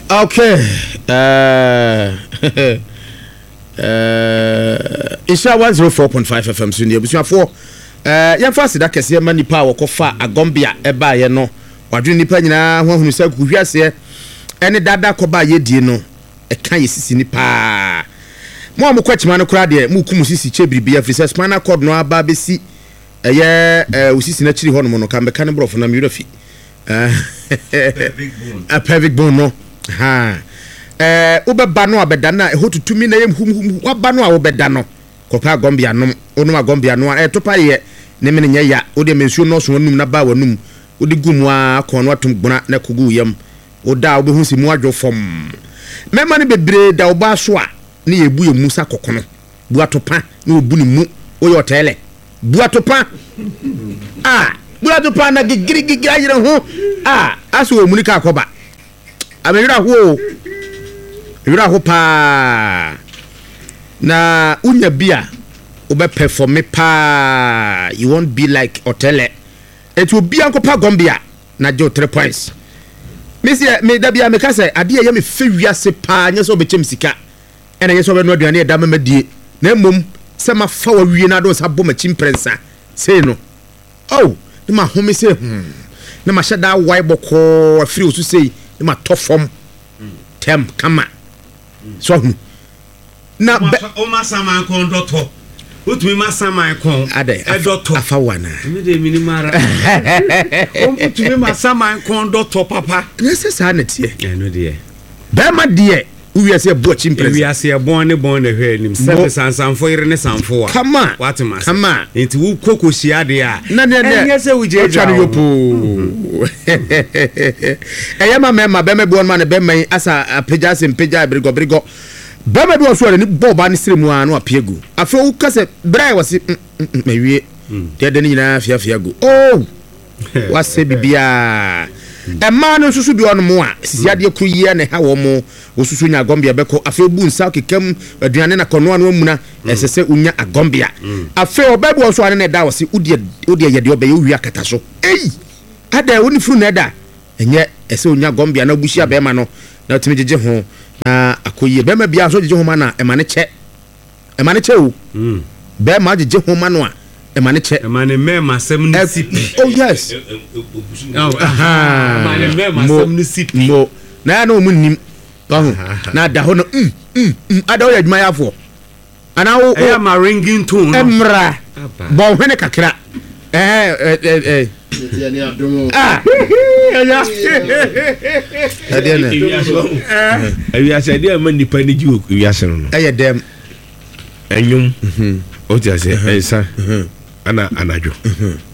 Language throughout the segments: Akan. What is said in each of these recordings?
Okay. Nhyira 104.5 FM so ni abusuafoɔ. Yɛmfa aseda kɛseɛ ma nipa a wɔkɔfa Agɔmbea ɛbaeɛ no. Wadwene nipa nyinaa ho ahunu sɛ kukuhweaseɛ ɛne dada kɔba a yɛdie no ɛka yɛ sisi ni paa. Mo a mokɔ akyima no koraa deɛ moku mo sisi kyɛ biribi afiri sɛ spinal cord no aba bɛsi ɛyɛ wo sisi no akyiri hɔnom no ka mbɛka ne borɔfo na mewura fi. Pelvic bone. Pelvic bone no. Ha. Wobɛba no a bɛda no a ɛhɔ tutumi na ɛyɛ huhuhu. Waba no a wobɛda no kɔpɛ agɔmbea nom. Wonom agɔmbea no a ɛto pa yɛ ne mene nyɛ ya. Wode ma nsuo nnɔɔso w'anum na ba w'anum. Wode gu mu ara kɔn no atom gbona na ɛkɔgu wo yam. Woda a wobɛhu sɛ mu adwo fɔmm. Mmarima no bebree da ɔbaa so a ne yɛbu yɛn mu sa kɔkono. Bu atopa na wɔbu ne mu. Woyɛ ɔtɛɛlɛ. Bu atopa a bu atopa na gigiri gigiri ayere ho a asɛ wɔ muni ka akɔba. Amewerɛ ho o. Werɛ ho paa. Na wonya bi a wobɛ performe paa. You won't be like ɔtɛlɛ. Eti obiara nkɔpa Gɔmbea na gye wo 3 points. Me seɛ me da biara meka sɛ adeɛ a ɛyɛ me fɛ wiase paa nyɛ sɛ wobɛkyɛ me sika ɛna ɛnyɛ sɛ wobɛnoa aduane a ɛda ma madie na mmom sɛ mafa wo awie na ade wo nsa abɔ m'akyi mprɛnsa sei no oh na mahome sei hmm na mahyɛ da awae bɔkɔɔ afiri wo so sei na matɔ fam tɛm kama so ahunu na bɛ. Woma saman kɔn dɔ tɔ. Wotumi ma saman kɔn Adɛ ɛdɔ tɔ. afa wo anaa? Ɛmi de mi ni mu ara. Wotumi ma saman kɔn dɔ tɔ papa. Na sɛ saa na teɛ. Ɛno deɛ. Bɛrima deɛ wo wiase ɛbɔ akyi mprɛnsa. Ewiase ɛbɔn ne bɔn na ɛhwɛ anim. Sɛbe sansanfo yere ne sanfo wa. Kama. Wate ma se. Kama. Nti wo kɔ kɔ hyia deɛ a. Na neɛ deɛ. Ɛnyɛ sɛ wo gyagya Ɔtwa no wo. yopoo. Ɛyɛ ma mɛma bɛrima bi wɔ no ma ne bɛrima yi asa apagya ase mpagya berigɔ berigɔ. Bɛrima bi wɔ so a n'ani bɔ ɔbaa no srɛ mu ara na wapia gu. Afei woka sɛ brɛ wɔ se mm mm mm mawie. Deɛ ɛdɛ no nyinaa afiafia gu. Oh! Wasɛ biribiara. Mmaa no nso so bi wɔ nom a sisi adeɛ koro yi ara na ɛha wɔn. Wosusu nya agɔmbea bɛkɔ. Afei wobu nsa keka mu aduane na kɔnoa no amuna. Ɛsɛ sɛ wonya agɔmbea. Afei ɔbaa bi wɔ so a ne na ɛda wɔ se wodeɛ wodeɛ yɛ deɛ ɔbɛyɛ wowie akata so. Ei! Adɛn wo ne funu na ɛda? Ɛnyɛ ɛsɛ onya gɔmbea na obuhyia bɛrima no na otumi gyegye ho na akɔ yie. Bɛrima biara nso gyegye ho ma no a, ɛma no kyɛ. Ɛma no kyɛ o. Bɛrima gyegye ho ma no a, ɛma no kyɛ. Ɛma ne mmɛɛmasɛm no si pi. Oh yes. Ɛma ne mmɛɛmasɛm no si pi. Mo na ɛyɛ na wɔn nnim. Ɔho na ada hɔ no mm mm mm ada woyɛ adwumayɛfoɔ. Anaa wo Ɛyɛ ma ringing tone no. Mmra bɔ wo hwene kakra. Ɛɛ ɛɛ ɛɛ. Ah. Ɛya. Ɛdeɛ na. Ewiase ɛdeɛ ɛma nipa ni gye wɔ ewiase no no. Ɛyɛ dɛm. Ɛnwom. O ti ase ɛnsa ɛna anadwo.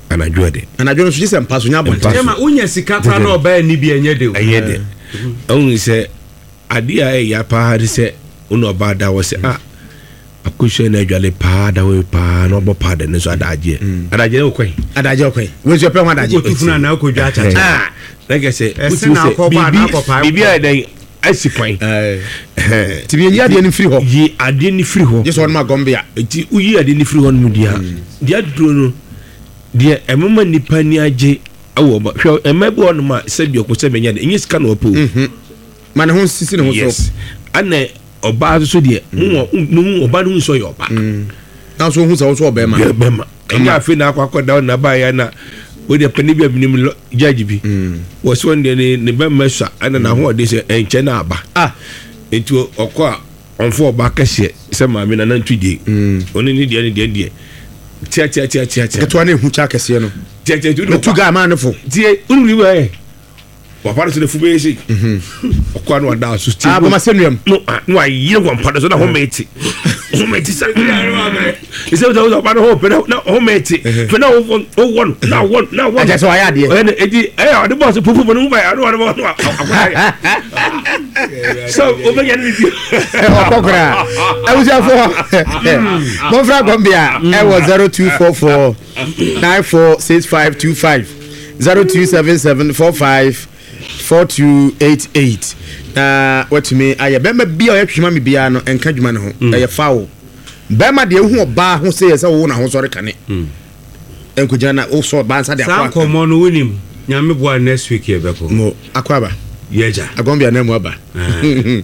Anadwo ɛde. Anadwo no so gye sɛ mpa so nya abɔnten. Ɛma wonya sika koraa na ɔbaa ni bi ɛnyɛ de o. Ɛnyɛ de. Ɛhu sɛ. Adeɛ a ɛyɛ paa ne sɛ wo ne ɔbaa da hɔ sɛ ah akosua na adwale paa da hɔ yi paa na ɔbɔ paa da ne nso adagyeɛ mm. adagyeɛ ne wokɔe adagyeɛ wokɔe wei nso ɛpɛ ho adagyeɛ wokɔtu funu anaa wokɔdwa akyakya ah, na kɛ sɛ wotumi sɛ biribi biribi a ɛdɛn asi kwan nti yɛyi adeɛ no firi hɔ yi adeɛ no firi hɔ gye sɛ ɔnom agɔmbe a nti woyi adeɛ no firi hɔ nom deɛ mm. deɛ aduro no deɛ ɛmoma nnipa ani agye ɛwɔ hwɛ ɛma bi hɔ nom a sɛbi ɔkɔ sɛ bɛnya de ɛnyɛ sika na ɔpɛ o mhm. Ma ne ho nsisi ne ho so. Yes. Ɛna ɔbaa nso deɛ mo wɔ mo hu ɔbaa no hu sɛ ɔyɛ ɔbaa. Mm. Na nso ohun sɛ ɔnso ɔbɛrima. Yɛ bɛrima. Ɛnyɛ afei na akɔ akɔ da na ba yɛ na o deɛ panyin bi a binom lɔ judge bi. Mm. Wɔ so deɛ ne ne bɛrima sua ɛna n'ahoɔden sɛ ɛnkyɛ na aba. Ah. Nti ɔkɔ a ɔnfɔ ɔbaa kɛseɛ sɛ maame na nantu die. Mm. Ɔne ne deɛ ne deɛ deɛ. Tia tia tia tia tia. Ketewa ne ehu kya kɛseɛ no. Tia tia tia. Metu gaa maa ne fo. Tie wuli wuli Papa no sɛ n'afu bɛyɛ sei. Ɔkɔ ano ada so ti. Aboma sɛ nuam. No ah no ayere wɔn mpa no so na home te. Home te sa. Ɛsɛ sɛ ɔsɛ ɔba no hɔ pɛ na home te. Fɛ na wɔ wɔ no na wɔ na wɔ. Ɛkyɛ sɛ wayɛ adeɛ. Ɔyɛ no eti ɛyɛ ɔde bɔɔso pupu mu no ba yɛ ɔde ɔde bɔɔso akɔda yɛ. So wobɛnya ne bi. Ɔkɔ koraa. Abusuafoɔ mɔmfra gɔmbea ɛwɔ 0244 946525. 0277 45 4288 na watumi ayɛ bɛrima bi a ɔyɛ twema me biara no ɛnka adwuma no ho mm. ɛyɛ foul bɛrima deɛ wohu ɔbaa ho sɛ yɛ sɛ wowo n'ahosɔre kane mm. nkɔgyina na wosɔ ɔbaa nsa de akɔ saa nkɔmmɔ no wonim nyame boa next week yɛbɛkɔ mo akɔ aba. Yɛgya. Agɔnbea na mu aba. Biribi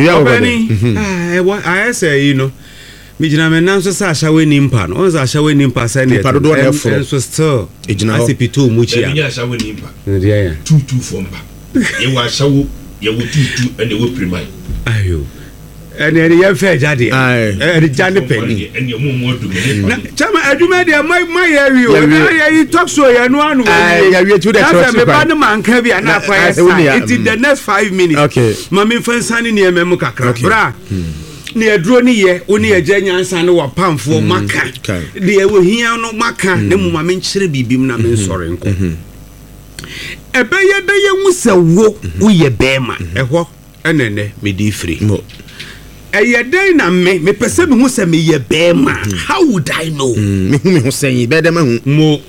a wɔbɛ Ɔbɛni, ɛwɔ ayɛ sɛ yi no. Megyina me nan so sɛ ahyɛwo ni mpa no. Ɔn sɛ ahyɛwo ni mpa sɛ ne Nipa dodoɔ na ɛforo. Nso still. Ɛgyina hɔ. Ase pitoo mu kyia. Ɛbi nyɛ ahyɛwo ni mpa. Deɛ yɛ. Tuutu fo mpa. Yɛwɔ ahyɛwo, yɛwɔ tuutu ɛna ɛwɔ piriman. Ayo. Ɛne ɛne yɛn fɛ ɛgya deɛ. Ɛne gya ne pɛ ni. Ɛne ɔmo ɔmo adu mɛ ne Na kyɛma adwuma deɛ ma ma yɛ awie o. Yɛwie. Na yɛ yi talk show yɛ no ano Aye, yɛwie ti wo deɛ Na kyerɛ sɛ ɔkyi me ba kwan. ne ma nka bi a na Na- akɔ yɛ aye, wo nua, saa. Nti the next 5 minutes. Okay. Ma mi nfa nsa ne nneɛma mu kakra. Okay. Bra. Ne aduro ne yɛ wo ne agya nyansa ne wapamfoɔ maka. Okay. Deɛ ohia no maka na mu ma me nkyerɛ biribi mu na me nsɔre nkɔ. Ɛbɛyɛ dɛ yɛhu sɛ wo woyɛ bɛrima ɛhɔ ɛna ɛnɛ mede firi. Mo. Ɛyɛ dɛn na me mepɛ sɛ mehu sɛ meyɛ bɛrima? How would I know? Mehu me ho sɛn bɛyɛ dɛ mahu. Mo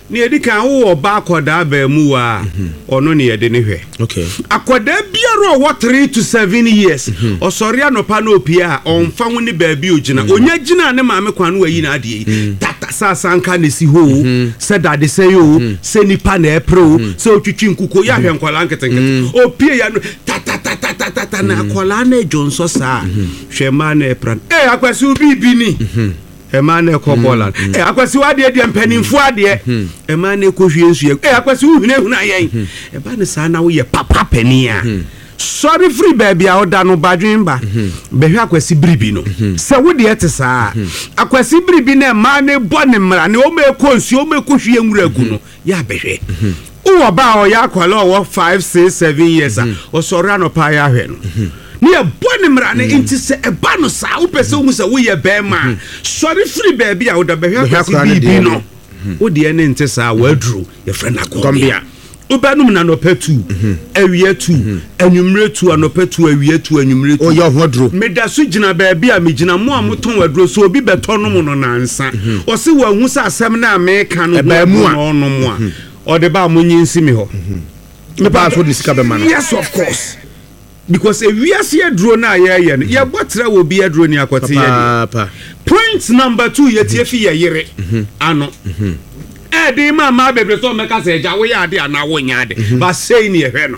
ne yɛdi kan, wowɔ ɔba akɔdaa baamu wa a, ɔno ne yɛde ne hwɛ. Akɔdaa biara a ɔwɔ 3 to 7 years, ɔsɔre anɔpa na opie a, ɔmfa ho ne baabi ogyina, onya gyina ne maame kwan no, wayi n'adeɛ yi tata sɛ asanka na esi hɔ o, sɛ dadesɛn o, sɛ nipa na ɛpere o, sɛ otwitwi nkuko yɛ ahwɛ nkɔlaa nketenkete opie ya no tatatatata na akɔlaa na edwo nsɔ saa. Hwɛ, mmaa na ɛpra no, ee, Akwasi, obi bi ni. Ɛmaa na ɛkɔ bɔɔla no, ɛ Akwasi, wadeɛ deɛ mpanimfoɔ adeɛ. Ɛmaa na ɛkɔ hwie nsuo, ɛ Akwasi, wohunahuna yɛn. Ɛba ne saa na woyɛ papa panin a, sɔre firi baabi a ɔda no badwen ba bɛhwɛ Akwasi biribi no sɛ wodeɛ te saa. Akwasi biribi no, ɛmaa ne bɔ ne mmara ne ɔma ɛkɔ nsuo, ɔma ɛkɔ hwie nwura gu no yɛ abɛhwɛ. Wowɔ ba a ɔyɛ akwala a ɔwɔ 5, 6, 7 years a, ɔsɔre anɔpa yɛ ahwɛ no ne yɛbɔ ne mmara ne. Nti sɛ ɛba no saa, wopɛ sɛ wohu sɛ woyɛ bɛrima a, sɔre firi baabi a woda bɛhwɛ Bɛhwɛ Akwasi akwadaa no biribi deɛ no no. Wodeɛ ne nte saa, waaduro yɛfrɛ no Gɔmbea. agɔmbea. Wobɛnom na anɔpa tu, awia tu, anwummerɛ tu, anɔpa tu, awia tu, anwummerɛ tu. Ɔyɛ ɔho aduro. Meda so gyina baabi a megyina. Mo a motɔn aduro so, obi bɛtɔ nom no nansa, ɔse wahu sɛ asɛm no a meka no ho Ɛbaa mu aduro a. na ɔnom a ɔde ba a, monye nsi me hɔ. Ɔbaa so de sika bɛma no. Yes, of course, because ewiase aduro no a yɛyɛ no, yɛbɔ trɛ wɔ bi aduro ni akɔte yɛ deɛ. Papaapa. Point number two, yɛtie fi yɛ yere ano. Ɛde ma mmaa bebree sɛ ɔmɛka sɛ, agya, woyɛ ade anaa wonyɛ ade ba sei ne yɛhwɛ no.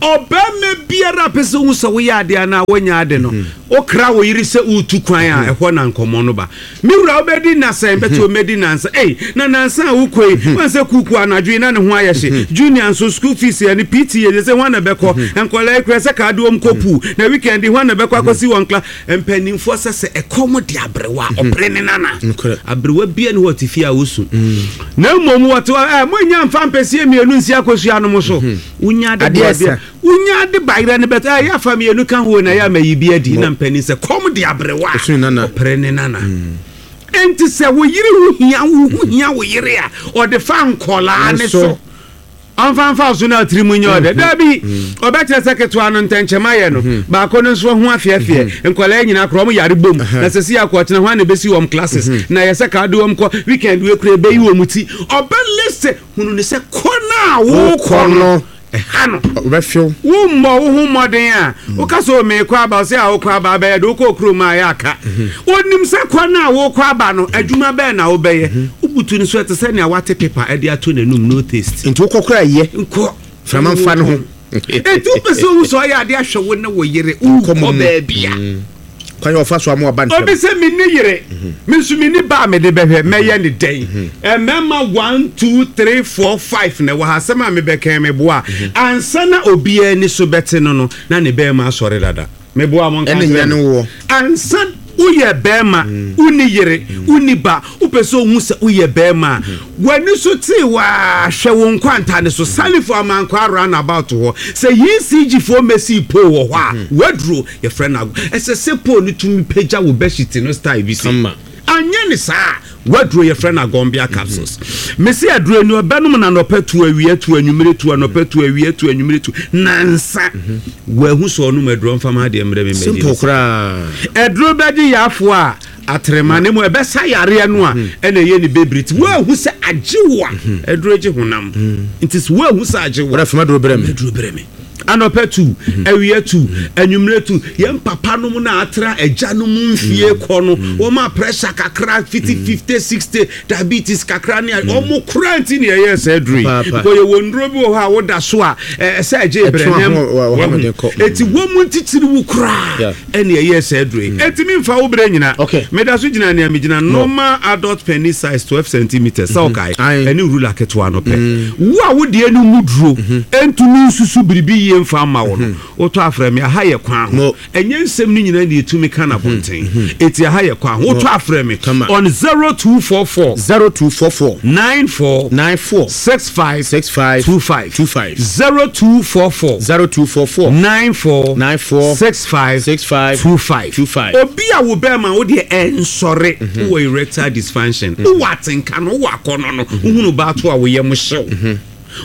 Ɔbɛrima biara pɛ sɛ wohu sɛ woyɛ ade anaa wonyɛ ade no, wokra wo yere sɛ wotu kwan a, ɛhɔ na nkɔmmɔ no ba. Me wura, wobɛdi nasɛn bɛte omɛdi nansa ei na nansa a wokɔ yi wan sɛ kuku anadwo yi na ne ho ayɛ hye. Junior nso, school fees yɛ ne PTA yɛ sɛ hwan na bɛkɔ nkɔla yi kura sɛ kaa de wɔm kɔ pool na weekend hwan na bɛkɔ akɔsi wɔn kla. Mpanimfoɔ sɛ ɛkɔm de aberewa a, ɔpere ne nana. Nokorɛ. Aberewa bia ne hɔ ɔte fie a wosu, na mmom wɔte hɔ ɛ monya mfa mpɛsie mmienu nsi akɔsua no mo so. Wonya ade Adeɛ boa ɛsa. bia wonya ade bayerɛ no bɛtɛ ɛ yɛafa mmienu ka ho na yɛ ama yi bi adi na mpanin sɛ kɔm de aberewa a, Ɔsu ne nana. Ɔpere ne nana. Enti sɛ wo yere ho hia wo, ho hia wo yere a, ɔde fa nkɔlaa ne so. Ɔmfa mfa so na atiri mu nyɛ ɔdɛ dabi. Ɔbɛkyerɛ sɛ ketewa no ntɛnkyɛm ayɛ no, baako no nso ho afeɛfeɛ. Nkɔlaa nyinaa korɔ ɔmo yare bom na sɛ si akɔ ɔkyena hɔ a na ebesi wɔn classes na yɛ sɛ kaa de wɔn kɔ weekend wei kura ebeyi wɔn ti. Ɔbɛ list hunu ne sɛ kɔ na wokɔ no ɛha no. Ɔbɛfew. Wommɔ wo ho mmɔden a woka sɛ o meekɔ aba, sɛ a wokɔ aba abɛyɛ de wokɔ kurom a ɛyɛ aka. Onim sɛ kɔ no a wokɔ aba no, adwuma bɛɛ na wobɛyɛ. Wobutu no so, ɛte sɛ nea wate paper ɛde ato n'anum, no taste. Nti wokɔ kora yɛ. Nkɔ. Frama mfa ne ho. Enti wopɛ sɛ wohu sɛ ɔyɛ ade ahwɛ wo ne wo yere Nkɔmmɔ wokɔ mu. baabi a kwan yɛ ɔfa so ama ɔba obi ntɛm. Sɛ menni yere, me nso menni ba a mede bɛhwɛ, mɛyɛ ne dɛn? Mmarima 1, 2, 3, 4, 5 na ɛwɔ ha. Asɛm a mebɛkɛn meboa a, ansa na obiara ani so bɛte no, na ne bɛrima asɔre dada. Meboa mo nka ɛne nkyerɛ nya ne me. woɔ. Ansa woyɛ bɛrima, wonni yere, wonni ba, wopɛ sɛ ohu sɛ woyɛ bɛrima a, w'ani so tee waa, hwɛ wo nkwanta ne so Salifo Amankwa roundabout hɔ sɛ ECG foɔ mɛsii pole wɔ hɔ a, waduro yɛfrɛ no ago. Ɛsɛ sɛ pole no tumi pagya wo bɛhyiti no style bi si. Kama. Anyɛ ne saa, waduro yɛfrɛ no agɔmbea capsules. Mesi aduro ni, ɔbɛnom na anɔpa tu, awia tu, anwummere tu, anɔpa tu, awia tu, anwummere tu, nansa wahu sɛ ɔnom aduro mfama adeɛ mmerɛ me mmɛgye simple ne sika. Koraa. Ɛduro bɛgye yaafoɔ a atrema ne mu ɛbɛsa yareɛ no a ɛna ɛyɛ ne bebiri ti. Woahu sɛ agye wo a, ɛduro gye honam, nti sɛ woahu sɛ agye wo a, wɔde fama duro brɛ me. Aduro brɛ me. Anɔpa tu, awia tu, anwummerɛ tu. Yɛn papa nom na atra agya nom mfie kɔ no, wɔn a pressure kakra fiti 50, 60, diabetes kakra ne wɔn kora nti na yɛyɛ saa aduro yi. Because yɛwɔ nnuro bi wɔ hɔ a woda so a ɛsɛ ɛgye brɛnɛm. Eti wɔn mu ntitiri wo koraa ɛna ɛyɛ saa aduro yi. Eti mi nfa wo brɛ nyina. Meda so gyina nea megyina normal adult penis size 12 centimeters sɛ ɔkae ɛne ruler ketewa no pɛ. Wo a wo deɛ no mu duro ɛntumi nsusu biribi yie mfa mma wo no, wotɔ afrɛ me. Aha yɛ kwan ho. Ɛnyɛ nsɛm no nyinaa na yɛtumi ka no abɔnten. Eti aha yɛ kwan ho. Wotɔ afrɛ me on 0244 0244 94 94 65 65 25 25 0244 0244 94 94 65 65 25 25. Obi a wo bɛrima wo deɛ ɛnsɔre, wowɔ erectile dysfunction, wowɔ atenka no, wowɔ akɔnnɔ no, wohunu baato a wo yam hyew,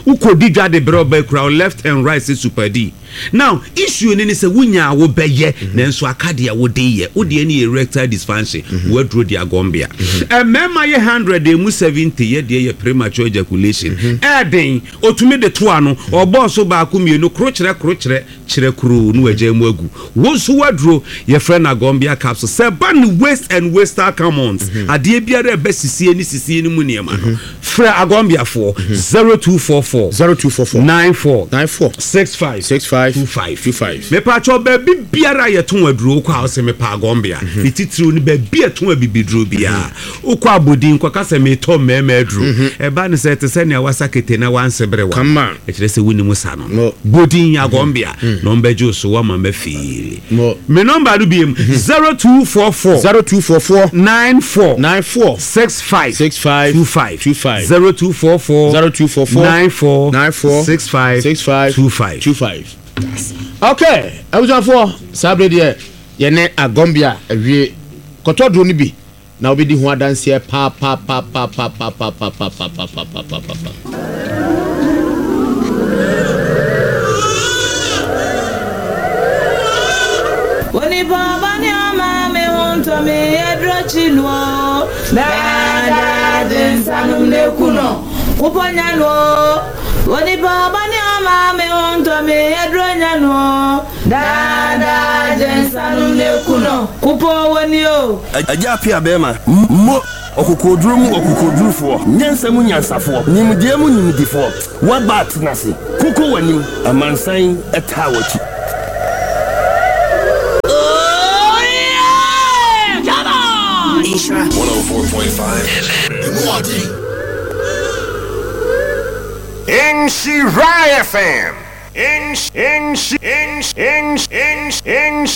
wokɔdi dwa de brɛ ɔbaa kura wo left and right sɛ super D. Now issue no ne sɛ wonya a wobɛyɛ nanso aka deɛ wode yɛ, wo deɛ no yɛ erectile dysfunction, woaduro de agɔmbea. Mmarima yɛ 100 emu 70 yɛ deɛ yɛ premature ejaculation. Ɛɛden, otumi de to ano, ɔbɔɔ so baako mmienu, korokyerɛ korokyerɛ, Kyerɛ kuroo na wagyae mu agu. Wo nso w'aduro, yɛfrɛ no Agombia capsule. Sɛ ɛba no waste and wastal commons, adeɛ biara a ɛba sisie ne sisie no mu nneɛma no, frɛ Agombiafoɔ, 0244 0244 94 94 65 65 25. 25. Mepaakyɛw, baabi biara a yɛtɔn aduro, wokɔ a wose mepɛ Agombia. Ne titiriw no, baabi a yɛtɔn abibiduro biara. Wokɔ abodin kɔka sɛ meretɔ mmarima aduro. Ɛba no sɛ ɛte sɛ nea wasa kete na wanse bere wa. Ɛkyerɛ sɛ wonim sa no. Bodin Agɔmbea na ɔmbɛgye wo so woama mafiili. Me nɔmba no biem 0244 0244 94 94 65 65 25 25 0244 0244 94 94 65 65 25. 25. Okay, abusuafoɔ saa bere deɛ yɛne Agɔmbea awie kɔtɔ duro no bi. Na wobɛdi ho adanseɛ paapapapapapapapapapapapapapa. Onipa ɔba ne ɔma me ho ntɔ me aduro kyi no o Daadaa de nsa nom na eku no wopɔ nya no o Onipa ɔba ne ɔma me ho ntɔ me aduro nya no o Daadaa de nsa nom na eku no wopɔ wɔ ni o. Agya Appiah bɛɛma, mo, ɔkokoɔduro mu ɔkokoɔdurufoɔ, nyansa mu nyansafoɔ, nimdeɛ mu nimdefoɔ, woaba atena ase, koko w'anim, amansan taa w'akyi. Oh yeah! Come on! Nhyira 104.5 FM. Emu ɔden. Nhyira FM. Nhy nhy nhy nhy nhy nhy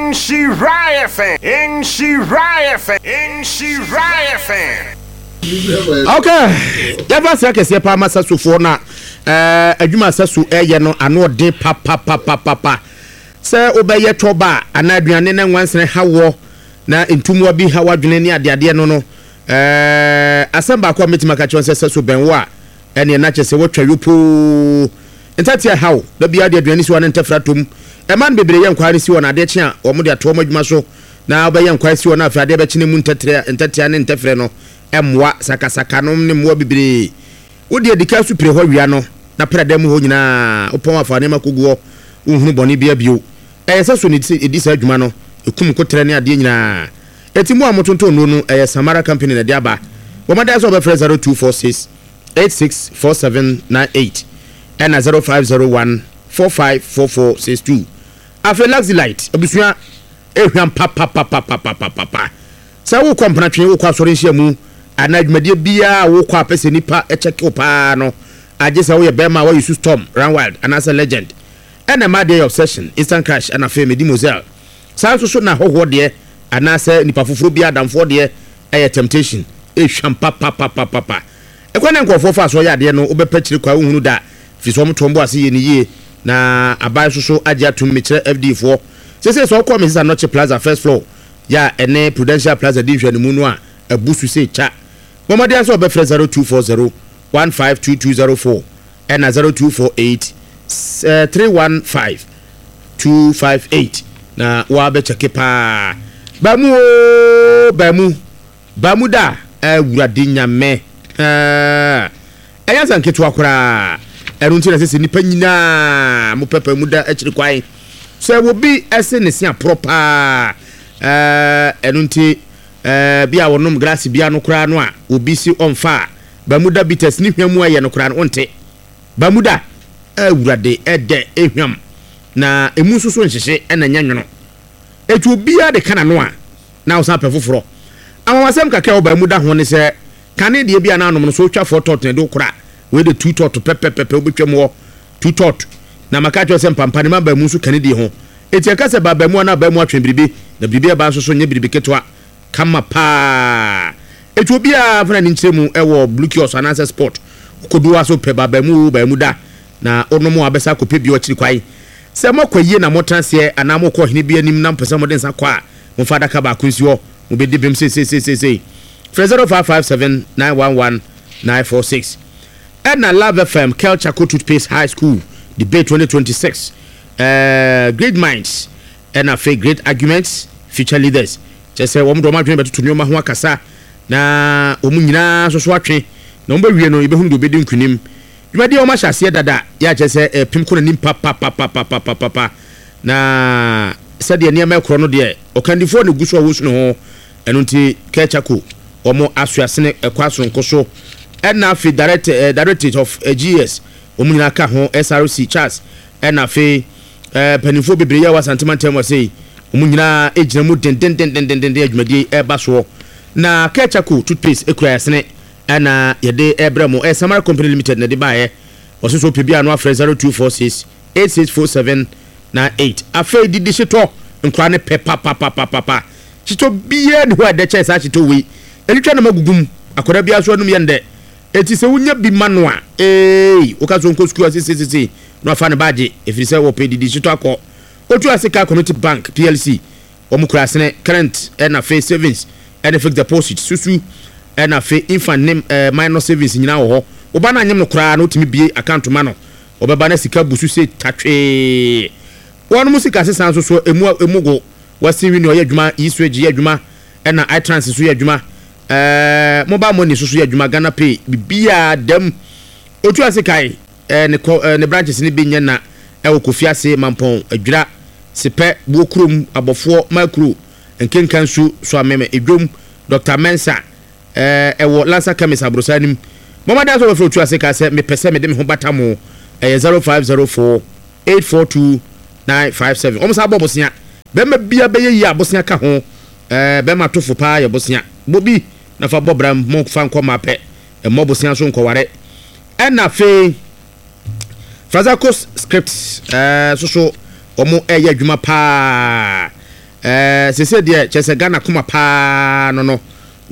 nhyira FM nhyira FM nhyira FM. Ok, yɛmfa aseda kɛseɛ paa ma Sasofoɔ na eh, adwuma a Saso ɛyɛ no ano ɔden papapapapapa. Sɛ wobɛyɛ twɔba anaa aduane na nwansene ha woɔ na ntummoa bi ha w'adwene ne adeadeɛ no no eh, asɛm baako a mɛtumi aka kyerɛ wo sɛ Saso bɛn wo a Ɛneɛ na kyerɛ sɛ woatwa yopoo. Ntatea haw, da biara de aduane si hɔ a na ntɛfrɛ atɔ mu. Mmaa no bebree yɛ nkwae no si hɔ na adeɛ kye a wɔde ato wɔn adwuma so. Na wobɛyɛ nkwae si hɔ na afei adeɛ bɛkye na emu ntɛtrɛ, ntɛtea ne ntɛfrɛ no mmoa, sakasaka nom ne mmoa bebree. Wo deɛ di kan so pire hɔ wia no na pra dan mu hɔ nyinaa. Wopɔn a fa nneɛma kɔgu hɔ, wonhunu bɔne biara bio. Ɛyɛ sɛ so na ɛdi saa dwuma no, ɛkum nkoterɛ ne adeɛ nyinaa. Enti mo a motontɔn nnuro no, ɛyɛ Samara Company na ɛde aba. Bɔ mmɔden ara sɛ wobɛfrɛ 0246 864798 ɛna 0501 454462. Afei Luxelite abusua ehwam papapapapapapa. Sɛ wokɔ mpenatwe, wokɔ asɔre nhyiamu anaa dwumadie biara a wokɔ a pɛ sɛ nipa kyɛke wo paa no, agye sɛ woyɛ bɛrima a woayi su Storm, Run Wild anaasɛ Legend. Ɛna mmaa deɛ yɛ Obsession, Instant Crush ɛna afei Medimoselle. Saa nso so na ahɔhoɔ deɛ anaasɛ nipa foforɔ biara adamfoɔ deɛ ɛyɛ Temptation. Ehwam papapapapapa. Ɛkwan a nkurɔfoɔ fa so yɛ adeɛ no wobɛpɛ kyiri kwa wonhunu da firi sɛ wɔn to wɔn bo ase yɛ no yie na aban nso so agye atom mekyerɛ FDA foɔ seesei sɛ wokɔ Mrs Anokye Plaza first floor yɛ a ɛne Prudential Plaza di nhwɛanimu no a abu so sei kya bɔ mmɔden ara sɛ wobɛfrɛ 0240 152204 ɛna 0248 315 258 na woabɛkyɛke paa baamu oo baamu Ba mu da a, Awurade Nyame, haa, ɛnyɛ asɛm ketewa koraa. Ɛno nti na ɛsɛ sɛ nnipa nyinaa mo pɛpɛ mu da akyiri kwan. Sɛ obi se ne se aporɔ paa, ɛno nti bi a wɔnom glass bi ano koraa no a obi se ɔmfa a, Bermuda bitters ne hwa mu ayɛ no koraa no wonte. Bermuda, Awurade, ɛdɛ, ɛhwam, na emu nso so nhyehye na ɛnyɛ nwono. Enti obiara de ka n'ano a, na ɔsan pɛ foforɔ. Anwanwasɛm kakra a ɛwɔ Bermuda ho ne sɛ, kane deɛ bi a na anom no, sɛ wotwa four tot na ɛde wo kora a, wei de two tot pɛpɛpɛpɛ wobɛtwam hɔ, two tot. Na maka akyerɛ wo sɛ mpampa ne mmabaa mu nso ka ne die ho. Enti ɛka sɛ baabamu anaa abaa mu atwe biribi, na biribi a ɛba nso so nyɛ biribi ketewa. Kama paa. Enti obiara mfa n'ani nkyerɛ mu wɔ Blue Kiosk anaasɛ Spot. Wokɔdu hɔ a sɛ wopɛ baabamu oo, baamu da, na wonom a wobɛsan akɔpɛ bio akyiri kwan. Sɛ moakɔ ayie na motena aseɛ anaa morekɔ ɔhene bi anim na mopɛ sɛ mode nsa kɔ a, momfa adaka baako nsi hɔ. Mobɛdi bem seiseiseisei. Frɛ 0557 911 946. Ɛna Love FM Kel Charcoal Toothpaste High School Debate 2026 eh, Great Minds ɛna afei Great Arguments Future Leaders. Kyerɛ sɛ wɔn de wɔn adwene bɛtoto nneɛma ho akasa na wɔn nyinaa nso so atwe na wɔn bɛwie no yɛbɛhunu deɛ ɔbɛdi nkunim. Dwumadie a wɔn ahyɛ aseɛ dada yɛ akyerɛ sɛ ɛrepem kɔ n'anim papapapapapapa na sɛdeɛ nneɛma ɛkorɔ no deɛ ɔkandifoɔ na ɛgu so a wɔresu ne ho ɛno nti Kerchako wɔn asoasene ɛkɔ asoronko so ɛna afei direct, eh, Directorate of eh, GS wɔn nyinaa ka ho SRC Charles ɛna afei eh, mpanimfoɔ bebree yɛ wɔ Asante mantam wɔ sei wɔn nyinaa gyina mu dendendendendenden adwumadie ɛreba soɔ na Kerchako toothpaste ekura ɛsene ɛna yɛde ɛbrɛ mo ɛyɛ Samara Company Limited na ɛde baeɛ wɔso so pɛ bi a no afrɛ 0246 8647 98 afei didi hyetɔ nkora ne pɛ papapapapa hyetɔ biara ni hɔ a ɛdɛ kyɛn saa hyetɔ wei ɛtwitwa nam agugu mu akwadaa biara so anum yɛ ndɛ eti sɛ wonya bi ma no a ee woka so nkɔ sukuu asesesese na wafa ne baagye ɛfiri sɛ wɔpɛ didi hyetɔ akɔ otu ase ka Community Bank PLC Wɔn kura asene, current ɛna afei savings ɛne fixed deposit, susu ɛna afei infant ne ɛɛ minor savings nyinaa wɔ hɔ. Wo ba no anyem no koraa no wotumi bue account ma no, ɔbɛba na sika bu so sei tatwee. Wɔnom sika sesa nso so emu emu go. Western Union yɛ adwuma, E-Switch yɛ adwuma ɛna iTrans nso yɛ adwuma, ɛɛ mobile money nso so yɛ adwuma, Ghana Pay, biribiara da mu. Otu ase kae. Ne kɔ ne branches no bi nyɛ na ɛwɔ Kofiase, Mampɔn, Adwira, Sepɛ, Buokurom, Abɔfoɔ, Makuro, Nkenkansu, Soameme, Edwom, Dɔkta Mensah, ɛwɔ Lansa Chemist Aborosan anim. Bɔ mmɔden sɛ wobɛfrɛ Otuase ka sɛ mepɛ sɛ mede me ho bata mo. Ɛyɛ 0504 842 957. Wɔn san bɔ bosea. Bɛrima bia bɛyɛ yie a bosea ka ho. Bɛrima tofo paa yɛ bosea. Bɔ bi na fa bɔ bra mu fa nkɔ mmaa pɛ. Mmɔ bosea so nkɔware. Ɛna afei Frazaco script ɛɛ eh, soso wɔn ɛyɛ adwuma paa ɛɛ eh, sese deɛ kyerɛ sɛ Ghana akoma paa no no